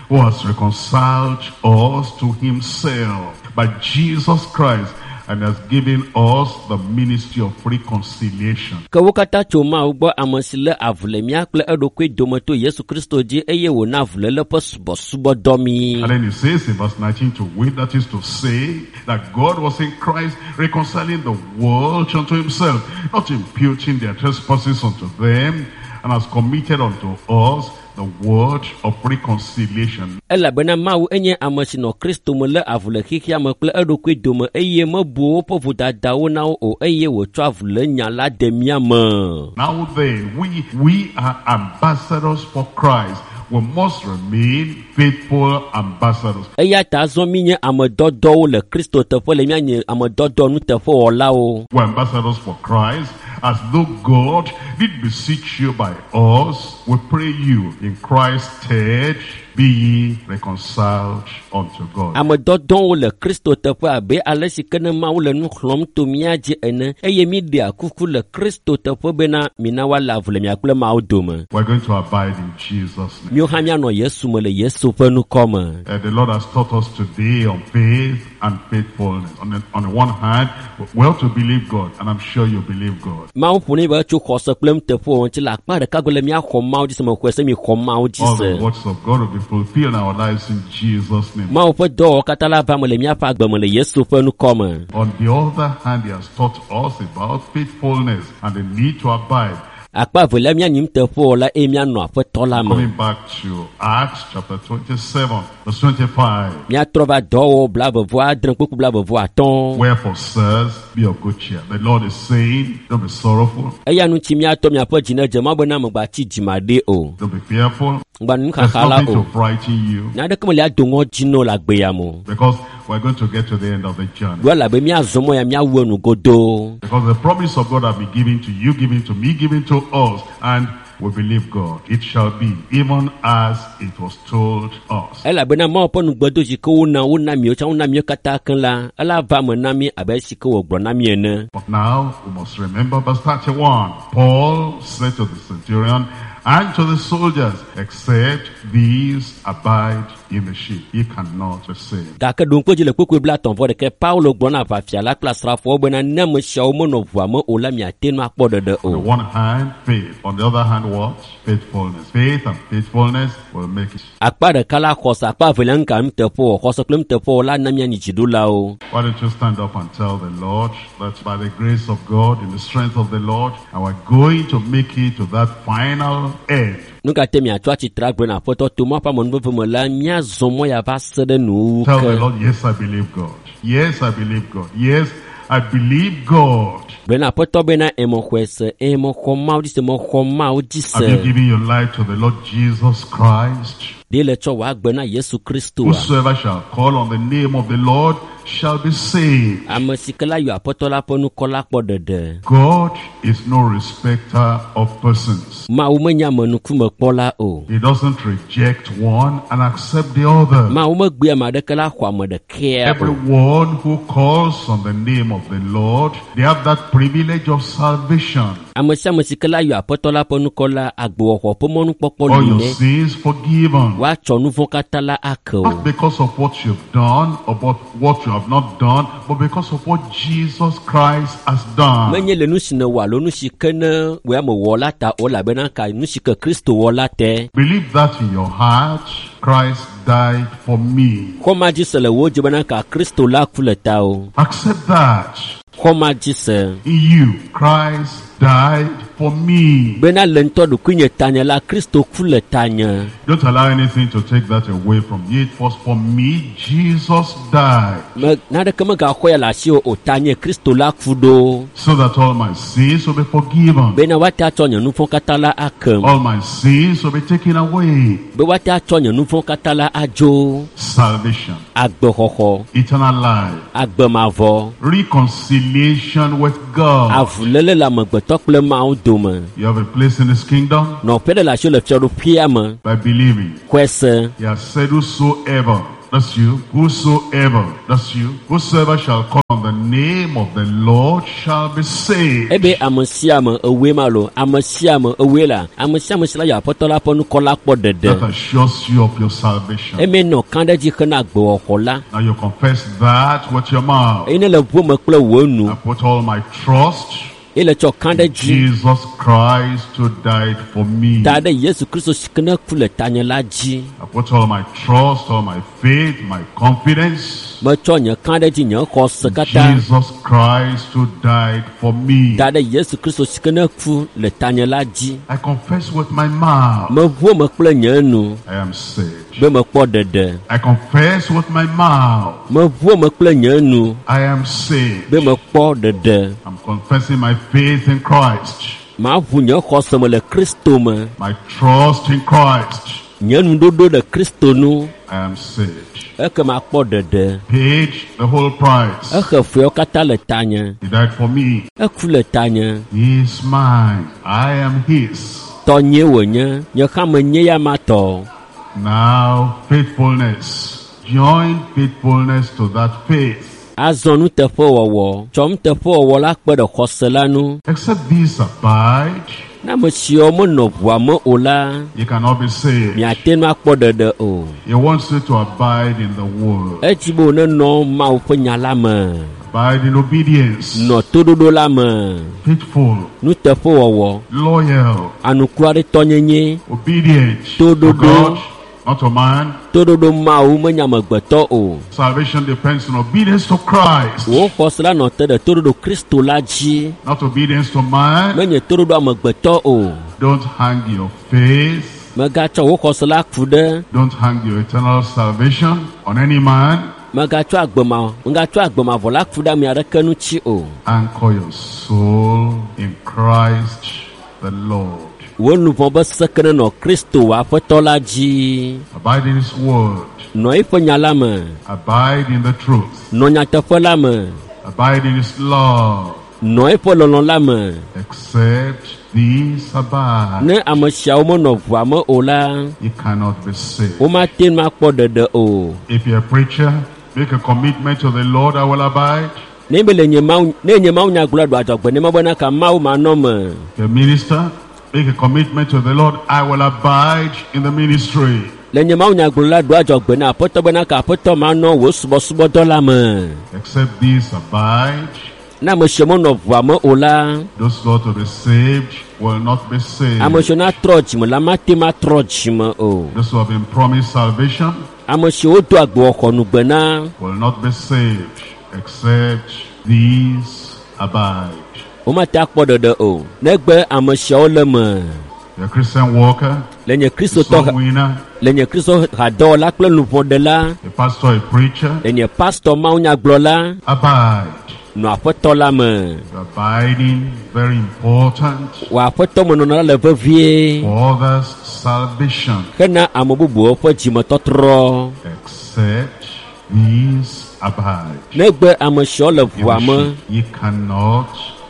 who has reconciled us to himself by Jesus Christ, and has given us the ministry of reconciliation. Ke wo katã tso Mawu gbɔ ame si lé avu le mía kple eɖokui dome to Yesu Kristo dzi eye wòna avuléle ƒe subɔsubɔdɔ mí. And then he says in verse 19, to wit, that is to say, that God was in Christ reconciling the world unto himself, not imputing their trespasses unto them, and has committed unto us the word of reconciliation. Elabena Mawu enye ame si nɔ Kristo me lé avu le xexea me kple eɖokui dome eye mebu woƒe vodadawo na wo o eye wòtsɔ avulénya la de mía me. Now then, we are ambassadors for Christ. We must remain faithful ambassadors. Eya ta azɔ míenye ame dɔdɔwo le Kristo teƒe le míanye ame dɔdɔ nuteƒewɔlawo. We're ambassadors for Christ, as though God did beseech you by us. We pray you in Christ's stead, be ye reconciled unto God. Ame dɔdɔwo le Kristo teƒe abe ale si ke ne Mawu le nu xlɔ̃m to mía dzi ene eye míɖea kuku le Kristo teƒe bena mina woalé avu le mia kple Mawu dome. We're going to abide in Jesus' name. Míawo hã míanɔ Yesu me le Yesu ƒe ŋkɔ me. The Lord has taught us today on faith and faithfulness. On the one hand, we ought to believe God, and I'm sure you believe God. Mawu ƒo ne be tso xɔse kple nuteƒewɔwɔ ŋuti le akpa ɖeka gbe le míaxɔ Mawu dzi se mexɔe se mixɔ Mawu dzi All se. the works of God will be fulfilled in our lives in Jesus' name. Mawu ƒe dɔwɔwɔ katã la va me le míaƒe agbe me le Yesu ƒe ŋkɔ me. On the other hand, he has taught us about faithfulness and the need to abide. Akpa evelia míanyi nuteƒewɔla eye míanɔ aƒetɔ la me. Coming back to Acts chapter 27, verse 25. Míatrɔ va dɔwɔwɔ 26 kpukpui 25. Wherefore, sirs, be of good cheer. The Lord is saying, don't be sorrowful, Eya ŋuti míatɔ miaƒe dzi ne dze Mawu bena megbatsi dzimaɖi o. don't be fearful. Ŋgba There's nuxaxa la nothing o. to frighten you, Nya aɖeke meli ado ŋɔdzi na wo le agbe ya me o. because we're going to get to the end of the journey. Ɖo elabe míazɔ mɔ ya míawu enu godoo. Because the promise of God has been given to you, given to me, given to us, and we believe God. It shall be even as it was told us. Elabena Mawu ƒe nugbedo si ke wona wona miwo tsã wona miwo katã keŋ la, ela va me na mí abe esi ke wògblɔ na mí ene. But now we must remember verse 31. Paul said to the centurion and to the soldiers, except these abide in the ship, ye cannot be saved. Gake ɖo ŋku edzi le kpukpui 36 Paulo gblɔ na aʋafia la kple asrafowo bena ne ame siawo menɔ ʋua me o la miate ŋu akpɔ ɖeɖe On the o. one hand, faith. On the other hand, what? Faithfulness. Faith and faithfulness will make it. Akpa ɖeka la xɔse, akpa evelia ŋka nuteƒewɔ. Xɔse kple nuteƒewɔ la na míanyi dziɖulawo. Why don't you stand up and tell the Lord that by the grace of God, in the strength of the Lord, and we're going to make it to that final end. Nu ka te miatsɔ atsitre agblɔ na Aƒetɔ to Mawu ƒe amenuveve me la, míazɔ mɔ ya va se ɖe nuwuwu Tell the ke. Lord, yes, I believe God. Yes, I believe God. Yes, I believe God. Gblɔ na Aƒetɔ bena emexɔe se, eye mexɔ Mawu dzi se, mexɔ Mawu dzi Have you se. given your life to the Lord Jesus Christ? Ɖe le tsɔ wò agbe na Yesu Kristoa? Whosoever shall call on the name of the Lord shall be saved. Ame si ke la yɔ aƒetɔ la ƒe ŋkɔ la kpɔ ɖeɖe. God is no respecter of persons. Mawu menye amenukumekpɔla o. He doesn't reject one and accept the other. Mawu megbea ame aɖeke la xɔ ame ɖekea o. Everyone who calls on the name of the Lord, they have that privilege of salvation. Ame sia ame si ke la yɔ aƒetɔ la ƒe ŋkɔ la, agbewɔxɔ ƒe mɔnukpɔkpɔ All li your nɛ. sins forgiven. Woatsɔ nu vɔ̃ katã la ake o. Not because of what you've done or what you have not done, but because of what Jesus Christ has done. Menye le nu si nèwɔ alo nu si ke ne wòe ame wɔ la ta o, elabena ka nu si ke Kristo wɔ la te. Believe that in your heart, Christ died for me. Xɔ ma dzi se le wò dzi bena ka Kristo la ku le ta o. Accept that Xɔ ma dzi se. in you, Christ died for me. Bena le ŋutɔ ɖokuinye tanye la, Kristo ku le tanye. Don't allow anything to take that away from you. It was for me Jesus died, Me naneke megaxɔ ya le asiwò o, tanye Kristo la ku ɖo. so that all my sins will be forgiven. Bena woate atsɔ nye nu vɔ̃ katã la akem. All my sins will be taken away. Be woate atsɔ nye nu vɔ̃ katã la adzo. Salvation, Agbexɔxɔ, eternal life, agbemavɔ, reconciliation with God. avuléle le amegbetɔ kple Mawu dome. You have a place in His kingdom Nɔƒe ɖe le asiwò le fiaɖuƒea me. by believing. Xɔe se. He has said, whosoever, that's you, whosoever, that's you, whosoever shall call on the name of the Lord shall be saved. Ebe ame sia ame ewoe ma lo, ame sia ame ewoe la, ame sia ame si la yɔ aƒetɔ la ƒe ŋkɔ la kpɔ ɖeɖe. That assures you of your salvation. Eme nɔ kã ɖe dzi hena agbewɔxɔ la. Now you confess that with your mouth. Eye ne le ʋu me kple wò nu, I put all my trust eye le tsɔ kã ɖe dzi Jesus Christ who died for me. da ɖe Yesu Kristo si ke ne ku le tanye la dzi. I put all my trust, all my faith, my confidence. Metsɔ nye kã ɖe dzi nye xɔse katã Jesus Christ who died for me. da ɖe Yesu Kristo si ke ne ku le tanye la dzi. I confess with my mouth Meʋu me kple nye nu I am saved. be mekpɔ ɖeɖe. I confess with my mouth Meʋu me kple nye nu I am saved. be mekpɔ ɖeɖe. I'm confessing my faith in Christ, Maʋu nye xɔse me le Kristo me. my trust in Christ. Nye nuɖoɖo le Kristo nu I am saved. ekema kpɔ ɖeɖe. Paid the whole price. Exe feawo katã le tanye. He died for me. Eku le tanye. He is mine. I am his. Tɔnye wònye. Nye hã menye ya ma tɔ. Now, faithfulness. Join faithfulness to that faith. Azɔ nuteƒewɔwɔ. Tsɔ nuteƒewɔwɔ la kpe ɖe xɔse la nu. Except these abide, Ne ame siawo menɔ ʋua me o la, you cannot be saved. miate ŋu akpɔ ɖeɖe o. He wants you to abide in the word. Edzi be wònenɔ Mawu ƒe nya la me. Abide in obedience. Nɔ toɖoɖo la me. Faithful. Nuteƒewɔwɔ. Loyal. Anukuaretɔnyenye. Obedient to Toɖoɖo. God, not to man. Toɖoɖo Mawu menye amegbetɔ o. Salvation depends on obedience to Christ, Wò xɔse la nɔ te ɖe toɖoɖo Kristo la dzi. not obedience to man. Menye toɖoɖo amegbetɔ o. Don't hang your faith, Megatsɔ wò xɔse la ku ɖe. don't hang your eternal salvation on any man. Megatsɔ agbema megatsɔ agbemavɔ la ku ɖe ame aɖeke ŋuti o. Anchor your soul in Christ the Lord. Wò luʋɔ be seke nenɔ Kristo wò aƒetɔ la dzi. Abide in His word. Nɔ eƒe nya la me. Abide in the truth. Nɔ nyateƒe la me. Abide in His love. Nɔ eƒe lɔlɔ̃ la me. Except these abide, Ne ame siawo menɔ ʋua me o la, you cannot be saved. womate ŋu akpɔ ɖeɖe o. If you're a preacher, make a commitment to the Lord, I will abide. Ne be le nye Mawu ne nye Mawu nyagblɔ ɖo adzɔgbe ne bena ka Mawu manɔ me. If you're a minister, make a commitment to the Lord, I will abide in the ministry. Le nye Mawu nyagblɔ la ɖo adzɔgbe na aƒetɔ bena ka aƒetɔ manɔ wò subɔsubɔdɔ la me. Except these abide, Ne ame siwo menɔ ʋua me o la, those who ought to be saved will not be saved. ame siwo natrɔ dzime la mate ŋu atrɔ dzime o. Those who have been promised salvation Ame siwo do agbewɔxɔ nugbe na will not be saved, except these abide. womate akpɔ ɖeɖe o. Negbe ame siawo le me. You're a Christian worker, Le nye a Kristotɔ soul winner, le nye Kristo hadɔwɔla kple luʋɔɖela, a pastor, a preacher, le nye pastɔ mawunyagblɔla, abide. nɔ aƒetɔ la me. Your abiding, very important Wò aƒetɔ menɔnɔ la le vevie for others' salvation. hena ame bubuwo ƒe dzimetɔtrɔ. Except these abide Negbe ame siawo le in ʋua the me ship, ye cannot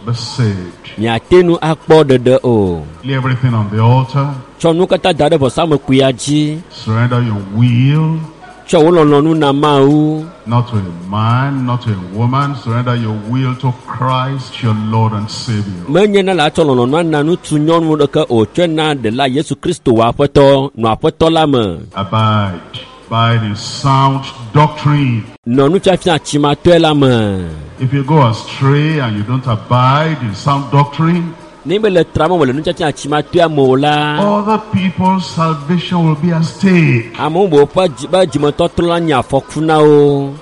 be saved. miate nu akpɔ ɖeɖe o. Lay everything on the altar. Tsɔ nu katã da ɖe vɔsamlekpuia dzi. Surrender your will, Tsɔ wò lɔlɔ̃nu na Mawu. not to a man, not to a woman. Surrender your will to Christ, your Lord and Savior. Menye na la tsɔ lɔlɔ̃nua na ŋutsu nyɔnu ɖeke o. Tsɔe na ɖela Yesu Kristo wò aƒetɔ nɔ aƒetɔ la me. Abide. Abide in sound doctrine. Nɔ nufiafia tsimatɔe la me. If you go astray and you don't abide in sound doctrine, Ne mele trama me le nufiafia tsimatɔea me o la, other people's salvation will be at stake. ame bubuwo ƒe dzi be dzimetɔtrɔ la nye afɔku na wo.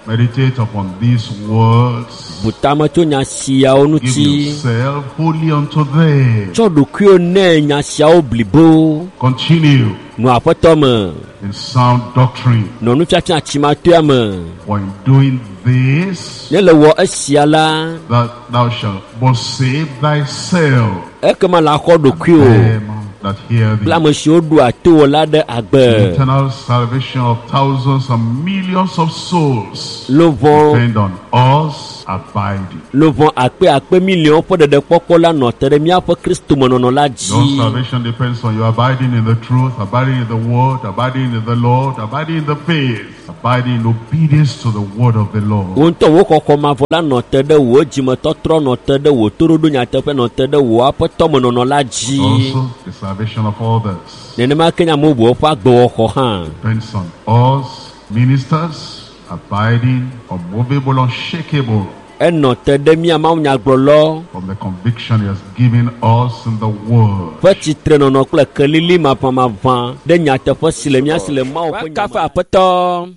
Meditate upon these words. Bu tame tso nya siawo Give ŋuti. yourself wholly unto them. Tsɔ ɖokuiwò nɛ nya siawo blibo. Continue Nɔ aƒetɔ me. in sound doctrine. Nɔ nufiafia tsimatɔea me. For in doing this, Ne le wɔ esia la, that thou shalt both save thyself ekema la xɔ ɖokuiwò them that hear kple thee. ame siwo ɖoa to wò la ɖe agbe. Eternal salvation of thousands and millions of souls Luʋɔ depend on us abiding. luʋɔ akpe akpe miliɔn ƒe ɖeɖekpɔkpɔ la nɔ te ɖe míaƒe kristomenɔnɔ la Your dzi. salvation depends on you abiding in the truth, abiding in the word, abiding in the Lord, abiding in the faith, abiding in obedience to the word of the Lord. Wò ŋutɔ wò xɔxɔ mavɔ la nɔ te ɖe wò dzimetɔtrɔ nɔ te ɖe wò toɖoɖo nyateƒe nɔ te ɖe wò aƒetɔmenɔnɔ la dzi. Also, the salvation of others Nenema ke nye ame bubuwo ƒe agbewɔxɔ hã. depends on us, ministers, abiding, unmovable, unshakable Enɔ te ɖe mía mawunyagblɔlɔ from the conviction he has given us in the word. ƒe tsitrenɔnɔ kple kelili maʋamaʋã ɖe nyateƒe si le mía si le Mawu ƒe kafe aƒetɔ.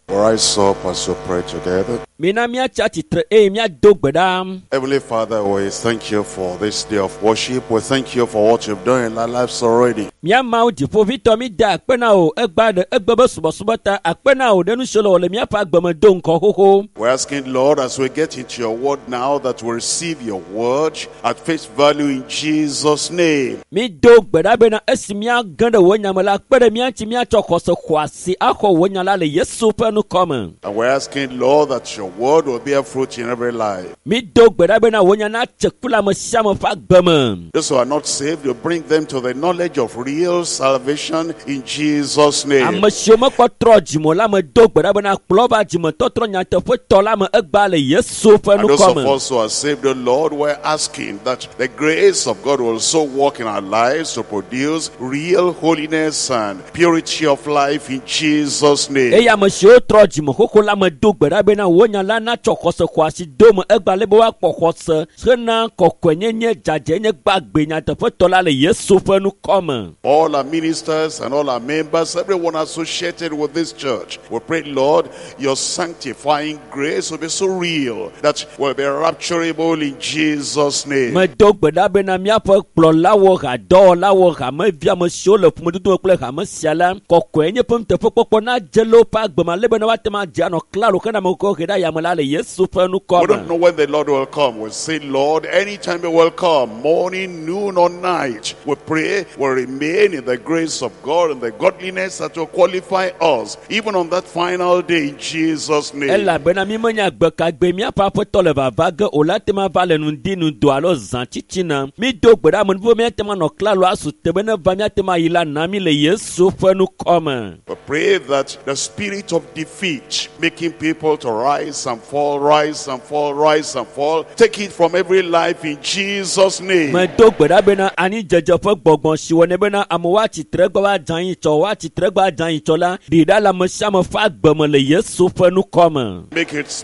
We rise up as we pray together. Mina míatsi atsitre eye míado gbe ɖa. Heavenly Father, we thank you for this day of worship. We thank you for what you've done in our lives already. Mía Mawu dziƒoʋĩtɔ mi da akpe na wò egbea ɖe egbe be subɔsubɔ ta akpe na wò ɖe nu siwo le wɔ le míaƒe agbe me do ŋkɔ xoxo. We're asking, Lord, as we get into your word now, that we receive your word at face value in Jesus' name. Mi do gbe ɖa bena esi míage ɖe wò nya me la kpe ɖe mía ŋuti míatsɔ xɔse xɔasi axɔ wò nya la le Yesu ƒe ŋkɔ me. And we're asking, Lord, that your word will bear fruit in every life. Mi do gbe ɖa bena wò nya natse ku le ame sia ame ƒe agbe me. Those who are not saved, you bring them to the knowledge of real salvation in Jesus' name. Ame siwo mekpɔ trɔ dzime o la me do gbe ɖa bena kplɔ va dzimetɔtrɔ nyateƒetɔ la me egbea le Yesu ƒe And those ŋkɔ of me. us who are saved, the Lord, we're asking that the grace of God will so work in our lives to produce real holiness and purity of life in Jesus' name. Eye ame siwo trɔ dzime xoxo la me do gbe ɖa bena wò nya la natsɔ xɔse xɔasi do me egbea le be woakpɔ xɔse hena kɔkɔenyenye dzadzɛnye gbagbe nyateƒetɔ la le Yesu ƒe ŋkɔ me. All our ministers and all our members, everyone associated with this church, we pray, Lord, your sanctifying grace will be so real that we'll be rapturable in Jesus' name. Medo gbe ɖa bena míaƒe kplɔlawo, hadɔwɔlawo, hamevi ame siwo le ƒomedodo me kple hame sia la, kɔkɔenye ƒe nuteƒekpɔkpɔ nadze le woƒe agbe me ale bena woate ŋu adze anɔ klalo hena ame kɔkɔ he ɖe ayame la le Yesu ƒe ŋkɔ We don't me. know when the Lord will come. We say, Lord, anytime He will come, morning, noon, or night. We pray we remain in the grace of God and the godliness that will qualify us, even on that final day in Jesus' name. Elabena mi menya gbe ka gbe míaƒe aƒetɔ le vava ge o la te ma va le ŋdi ŋdɔ alo zã tsitsina. Mi do gbe ɖa ame nuvo míate ŋu anɔ klalo asu te be ne va míate ŋu ayi la na mi le Yesu ƒe ŋkɔ me. We pray that the spirit of defeat, making people to rise and fall, rise and fall, rise and fall, take it from every life in Jesus' name. Medo gbe ɖa bena anidzedze ƒe gbɔgbɔ si wɔnɛ bena amewo atsitre gbe woadze anyi tsɔ, woatsitre gbe adze anyi tsɔ la, ɖi ɖa le ame sia ame ƒe agbe me le Yesu ƒe ŋkɔ me.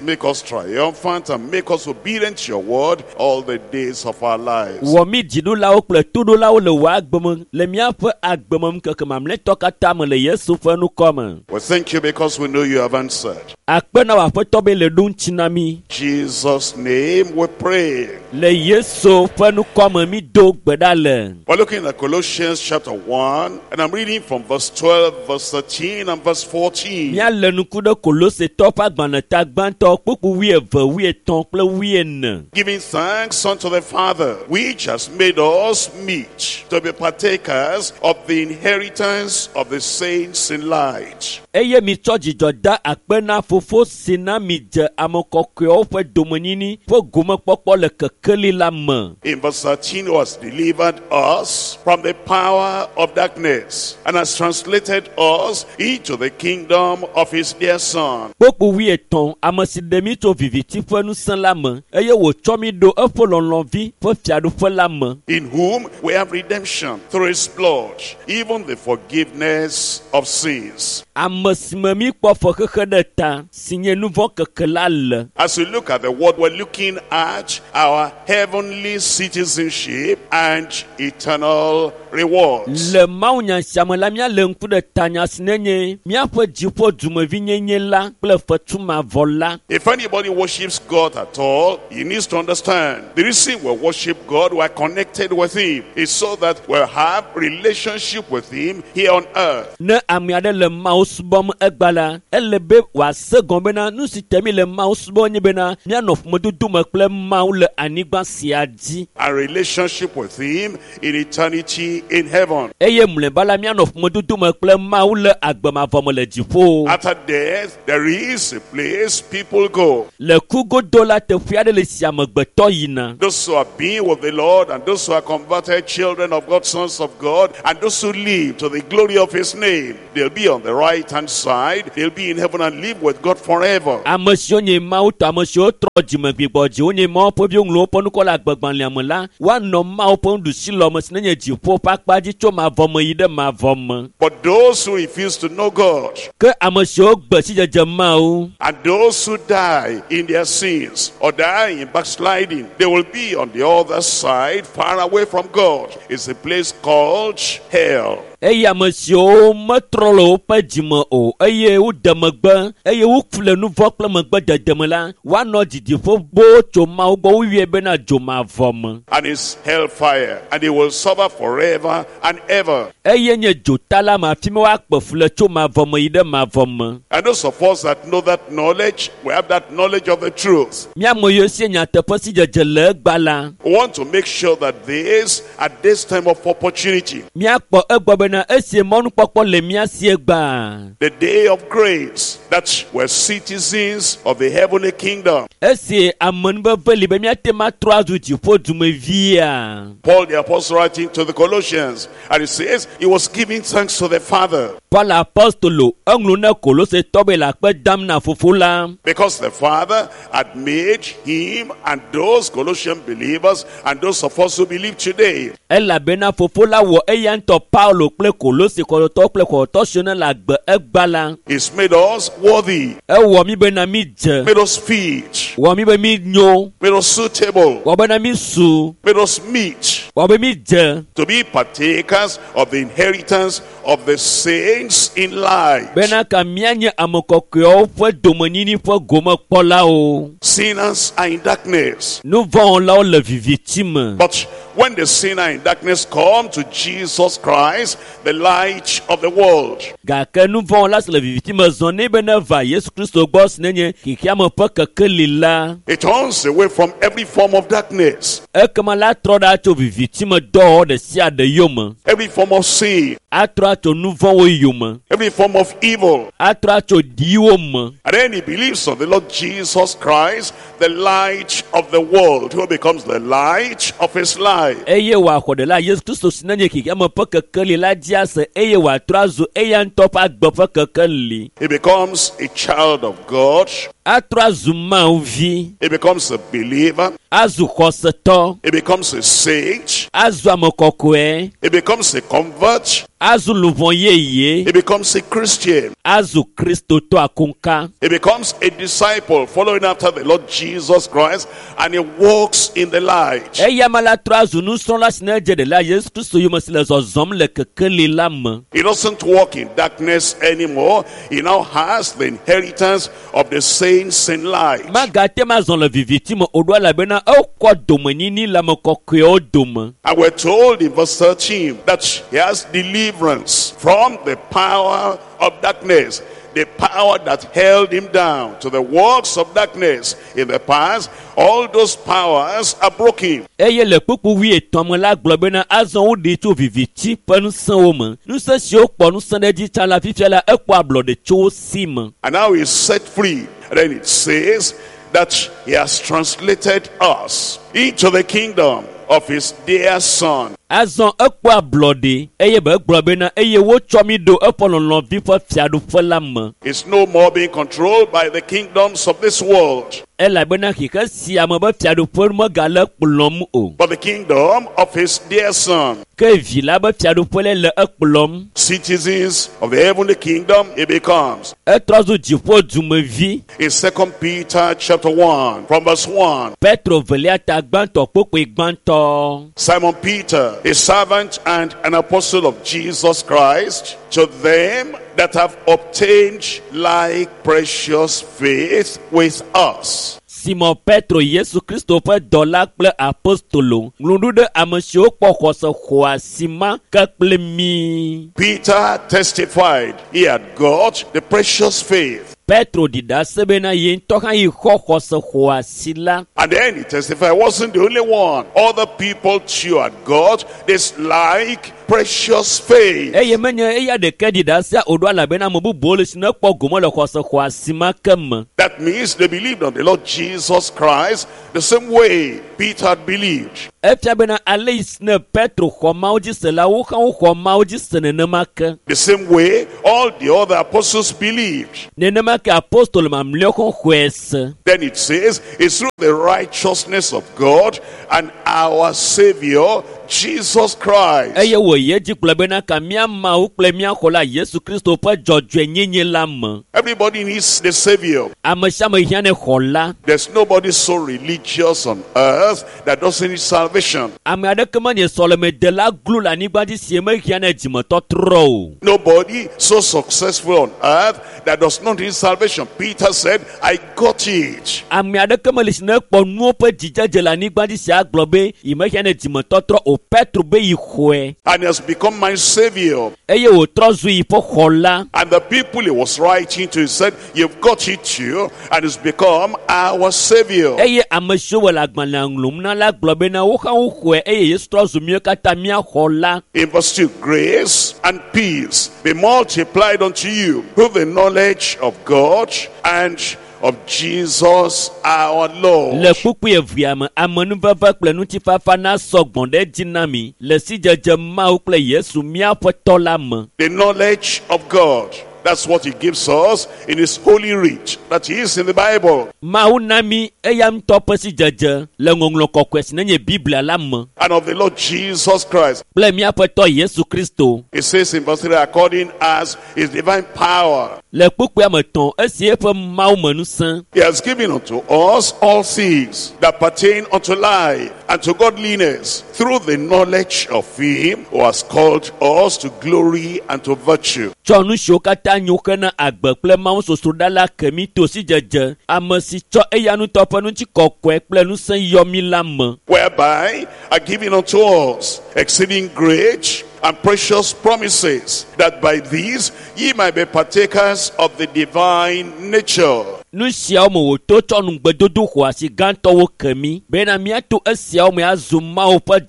Make us triumphant and make us obedient to your word all the days of our lives. Wɔ mí dziɖulawo kple toɖolawo le wò agbe me le míaƒe agbe me ŋkeke mamlɛtɔ katã me le Yesu ƒe ŋkɔ me. We thank you because we know you have answered. Akpe na wò aƒetɔ be le ɖo ŋuti na mí. Jesus' name we pray. Le Yesu ƒe ŋkɔ me mí do gbe ɖa le. We're looking at Colossians chapter 1, and I'm reading from verse 12, verse 13, and verse 14. Míalé ŋku ɖe Kolosetɔ ƒe agbalẽ gbãtɔ kpukpu wuieve, wuietɔ̃ kple wuiene. Giving thanks unto the Father, which has made us meet to be partakers of the inheritance of the saints in light. Eye mitsɔ dzidzɔ da akpe na fofo si na mi dze ame kɔkɔewo ƒe domenyini ƒe gomekpɔkpɔ le kekeli la me. In verse 13, who has delivered us from the power of darkness and has translated us into the kingdom of his dear Son. Kpokpo 13, ame si ɖe mí tso viviti ƒe ŋusẽ la me eye wòtsɔ mí ɖo eƒe lɔlɔ̃vi ƒe fiaɖuƒe la me. In whom we have redemption through his blood, even the forgiveness of sins. Ame si me mí kpɔ fexexe ɖe ta si nye nu vɔ̃ keke la le. As we look at the word, we're looking at our heavenly citizenship and eternal rewards. Le mawunya sia me la, míalé ŋku ɖe tanya si nenye míaƒe dziƒo dumevinyenye la kple fetu mavɔ la. If anybody worships God at all, he needs to understand the reason we worship God, we are connected with him, is so that we'll have relationship with him here on earth. Ne ame aɖe le Mawu subɔm egba la, ele be wòase gɔme bena nu si te mi le Mawu subɔm nye bena míanɔ ƒomedodo me kple Mawu le anyigba sia dzi. And relationship with him in eternity in heaven. Eye mlɔeba la míanɔ ƒomedodo me kple Mawu le agbemavɔ me le dziƒo. After death, there is a place people go. Le ku godo la, teƒe aɖe le si amegbetɔ yina. Those who have been with the Lord and those who are converted children of God, sons of God, and those who live to the glory of his name, they'll be on the right-hand side. They'll be in heaven and live with God forever. Ame siwo nye Mawu tɔ, ame siwo trɔ dzime gbigbɔ dzi, wonye Mawu ƒe viwo ŋlɔ woƒe ŋkɔ le agbegbalẽa me la, woanɔ Mawu ƒe nuɖusilɔ me si nenye dziƒo ƒe akpa dzi tso mavɔ me yi ɖe mavɔ me. But those who refuse to know God Ke ame siwo gbe sidzedze Mawu and those who die in their sins or die in backsliding, they will be on the other side, far away from God. It's a place called hell. Eye ame siwo metrɔ le woƒe dzime o eye wode megbe eye woku le nu vɔ̃ kple megbedede me la, woanɔ didiƒe boo tso Mawu gbɔ woyɔe bena dzomavɔ me. And it's hellfire, and they will suffer forever and ever. Eye nye dzota la me afi ma woakpe fu le tso mavɔ me yi ɖe mavɔ me. And those of us that know that knowledge, we have that knowledge of the truth. Mía ame yiwo si nyateƒe si dzedze le egbea la, We want to make sure that this, at this time of opportunity, míakpɔ egbɔ bena esi mɔnukpɔkpɔ le mía si egbea, the day of grace, that we're citizens of the heavenly kingdom. Esi amenuveve li be míate ŋu atrɔ azu dziƒo dumevia. Paul the apostle writing to the Colossians, and he says he was giving thanks to the Father. Paul apostolo eŋlɔ na Kolosetɔ be le akpe dam na fofo la. Because the Father had made him and those Colossian believers and those of us who believe today. Elabena fofo la wɔ eya ŋutɔ Paulo kple Kolose xɔtɔtɔ kple xɔtɔtɔ siwo ne le agbe egba la. He's made us worthy. Ewɔ mí bena mí dze. Made us fit. Wɔ mí be mí nyo. Made us suitable. Wɔ bena mí su. Made us meet. Wɔ be mí dze. To be partakers of the inheritance of the saints in light. Bena ka míanye ame kɔkɔewo ƒe domenyini ƒe gomekpɔlawo. Sinners are in darkness. Nu vɔ̃wɔlawo le viviti me. But when the sinner in darkness come to Jesus Christ, the light of the world, Gake nu vɔ̃wɔla si le viviti me zɔ nɛ be ne va Yesu Kristo gbɔ si nenye xexeame ƒe kekeli la, it turns away from every form of darkness, ekema la trɔ ɖa tso viviti me dɔwɔwɔ ɖe sia ɖe yome. every form of sin, Atrɔ atso nu vɔ̃wo yome. every form of evil. Atrɔ atso ɖiwo me. And then he believes on the Lord Jesus Christ, the light of the world, who becomes the light of his life. Eye wòaxɔ ɖela Yesu Kristo si nenye xexeame ƒe kekeli la dzi ase eye wòatrɔ azu eya ŋutɔ ƒe agbe ƒe kekeli. He becomes a child of God. Atrɔ azu Mawu vi. He becomes a believer. Azu xɔsetɔ. He becomes a saint. Azu ame kɔkɔe. He becomes a convert. Azu luʋɔ yeye. He becomes a Christian. Azu Kristotɔ akunka. He becomes a disciple following after the Lord Jesus Christ, and he walks in the light. Eya me la trɔ azu nusrɔ̃la si ne dze ɖela Yesu Kristo yome si le zɔzɔm le kekeli la me. He doesn't walk in darkness anymore. He now has the inheritance of the saints in light. Magate ma zɔ le viviti me o ɖo elabena ekɔ domenyini le ame kɔkɔewo dome. And we're told in verse 13 that he has deliverance from the power of darkness. The power that held him down to the works of darkness in the past, all those powers are broken. Eye le kpukpu 50 me la gblɔ bena azɔ woɖee tso viviti ƒe ŋusẽwo me. Ŋusẽ siwo kpɔ ŋusẽ ɖe edzi tsã la fifia la ekpɔ ablɔɖe tso wo si me. And now he's set free. And then it says that he has translated us into the kingdom of his dear son. Azɔ ekpɔ ablɔɖe eye be egblɔ bena eye wotsɔ mi ɖo eƒe lɔlɔ̃vi ƒe fiaɖuƒe la me. It's no more being controlled by the kingdoms of this world, Elabena xixe sia me be fiaɖuƒe megale kplɔm o. but the kingdom of his dear son. Ke vi la be fiaɖuƒe le le ekplɔm. Citizens of the heavenly kingdom he becomes. Etrɔ zu dziƒo dumevi. In 2 Peter chapter 1, from verse 1, Petro velia ta gbãtɔ kpokpoe gbãtɔ. Simon Peter, a servant and an apostle of Jesus Christ, to them that have obtained like precious faith with us. Simon Petro Yesu Kristo ƒe dɔla kple apostolo ŋlɔ nu ɖe ame siwo kpɔ xɔse xɔasi ma ke kple mí. Peter testified he had got the precious faith. Petro ɖi ɖase bena ye ŋutɔ hã yi xɔ xɔse xɔasi la. And then he testified, he wasn't the only one. Other people too had got this like precious faith. Eye menye eya ɖeke ɖi ɖasea o ɖo elabena ame bubuwo le si ne kpɔ gome le xɔse xɔasi ma ke me. That means they believed on the Lord Jesus Christ the same way Peter had believed. Efia bena ale yi si ne Petro xɔ Mawu dzi se la, wo hã woxɔ Mawu dzi se nenema ke. The same way all the other apostles believed. Nenema ke apostolo mamlɛawo hã xɔe se. Then it says, it's through the righteousness of God and our Savior, Jesus Christ. Eye wòyi edzi gblɔ bena ka mía Mawu kple mía xɔla Yesu Kristo ƒe dzɔdzɔenyenye la me. Everybody needs the Savior. Ame sia ame hiã ne xɔla. There's nobody so religious on earth that doesn't need salvation. Ame aɖeke menye sɔlemedela glo le anyigba dzi si mehiã ne dzimetɔtrɔ o. Nobody so successful on earth that does not need salvation. Peter said, I got it. Ame aɖeke meli si ne kpɔ nuwo ƒe dzidzedze le anyigba dzi si agblɔ be yi mehiã ne dzimetɔtrɔ o. Petro be yi xɔe And he has become my Savior. eye wòtrɔ zu yi ƒe xɔla. And the people he was writing to, he said, you've got it too. And it's become our Savior. Eye ame siwo wɔ le agbalẽa ŋlɔm na la gblɔ bena wo hã woxɔe eye Yesu trɔ zu míawo katã mía xɔla. In verse 2, grace and peace be multiplied unto you through the knowledge of God and of Jesus our Lord. Le kpukpui evea me, amenuveve kple ŋutifafa nasɔ gbɔ̃ ɖe edzi na mi le sidzedze Mawu kple Yesu míaƒe tɔ la me. The knowledge of God. That's what he gives us in his holy writ that is in the Bible. Mawu na mi eya ŋutɔ ƒe sidzedze le ŋɔŋlɔ kɔkɔe si nenye Biblia la me And of the Lord Jesus Christ. kple míaƒe tɔ Yesu Kristo. It says in verse 3, according as his divine power, Le kpukpuia me tɔn, esi eƒe Mawu me ŋusẽ he has given unto us all things that pertain unto life and to godliness through the knowledge of him who has called us to glory and to virtue. Tsɔ nu siwo katã nyo hena agbe kple Mawu sosroɖa la ke mi to sidzedze, ame si tsɔ eya ŋutɔ ƒe ŋutikɔkɔe kple ŋusẽ yɔ mi la me. Whereby are given unto us exceeding great and precious promises, that by these ye might be partakers of the divine nature. Nu siawo me wòto tsɔ nugbedodo xɔasi gãtɔwo ke mi bena míato esiawo me azu Mawu ƒe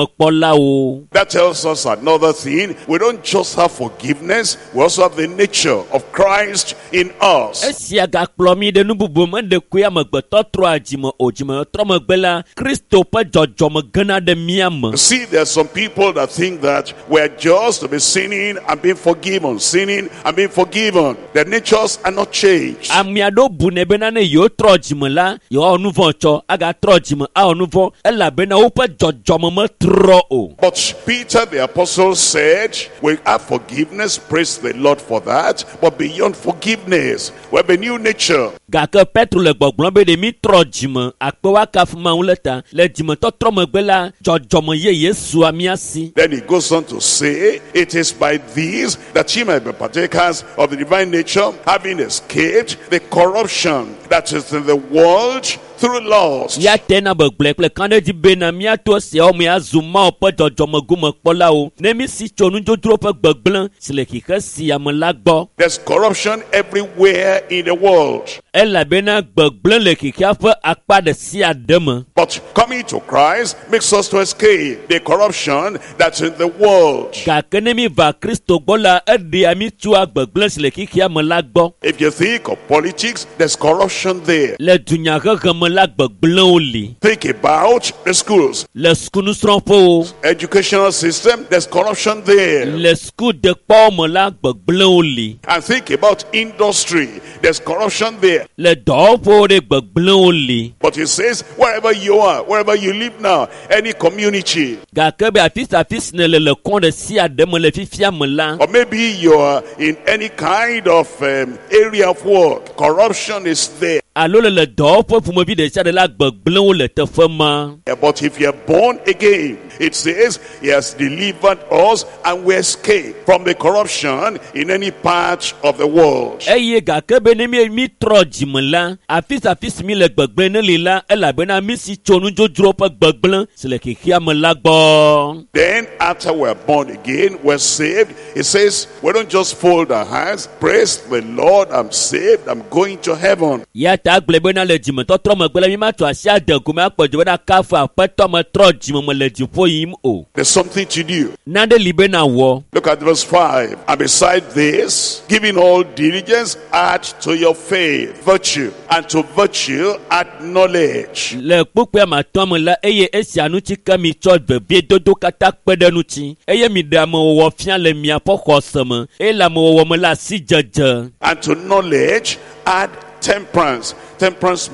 dzɔdzɔmegomekpɔlawo. That tells us another thing. We don't just have forgiveness, we also have the nature of Christ in us. Esia gakplɔ mi ɖe nu bubu me ɖekoe amegbetɔ trɔa dzime o dzimetrɔ megbe la, Kristo ƒe dzɔdzɔme gena ɖe mía me. You see, there are some people that think that we're just to be sinning and being forgiven, sinning and being forgiven. Their natures are not changed. Ame aɖewo bunɛ bena ne yewo trɔ dzime la, yewoawɔ nu vɔ̃ tsɔ, agatrɔ dzime awɔ nu vɔ̃ elabena woƒe dzɔdzɔme metrɔ o. But Peter the apostle said, we have forgiveness, praise the Lord for that. But beyond forgiveness, we have a new nature. Gake Petro le gbɔgblɔm be ɖe mi trɔ dzime akpe woakafu Mawu le ta. Le dzimetɔtrɔ megbe la, dzɔdzɔme yeye sua mía si. Then he goes on to say, it is by these that ye might be partakers of the divine nature, having escaped the corruption that is in the world through lust. Ya te na be gblɔe kple kan ɖe dzi bena míato esiawo me azu Mawu ƒe dzɔdzɔmegomekpɔlawo ne mi si tso nudzodzro ƒe gbegblẽ si le xixe sia me la gbɔ. There's corruption everywhere in the world. Elabena gbegblẽ le xixea ƒe akpa ɖe sia ɖe me. But coming to Christ makes us to escape the corruption that's in the world. Gake ne mi va Kristo gbɔ la, eɖea mi tsoa gbegblẽ si le xixea me la gbɔ. If you think of politics, there's corruption there. Le dunyahehe me la, gbegblẽwo li. Think about the schools, Le sukunusrɔ̃ƒewo, educational system, there's corruption there. le sukudekpɔwo me la, gbegblẽwo li. And think about industry, there's corruption there. Le dɔwɔƒewo ɖe gbegblẽwo li. But he says, wherever you are, wherever you live now, any community, Gake be afi sia afi si nèle le kɔn ɖe sia ɖe me le fifia me la, or maybe you are in any kind of area of work, corruption is there. Alo le le dɔwɔƒe ƒomevi ɖe sia ɖe la, gbegblẽwo le teƒe ma. But if you are born again, it says he has delivered us and we escape from the corruption in any part of the world. Eye gake be ne mi mi trɔ dzime la, afi sia afi si mi le gbegblẽ ne li la, elabena mi si tso nudzodzro ƒe gbegblẽ si le xexea me la gbɔ. Then after we're born again, we're saved. It says we don't just fold our hands, "Praise the Lord, I'm saved, I'm going to heaven." Ya ta gblɔ bena le dzimetɔtrɔ megbe la, mi ma tso asi ade gome akpɔ dzo bena kafu aƒetɔ me trɔ dzime me le dziƒo yim o. There's something to do. Nane li bena wɔ. Look at verse 5. "And beside this, giving all diligence, add to your faith virtue, and to virtue add knowledge." Le kpukpui ame atɔ̃ me la, eye esia ŋuti ke mi tsɔ veviedodo katã kpe ɖe ŋuti eye mi ɖe amewɔwɔ fia le miaƒe xɔse me eye le amewɔwɔ me la asidzedze. And to knowledge, add temperance. Temperance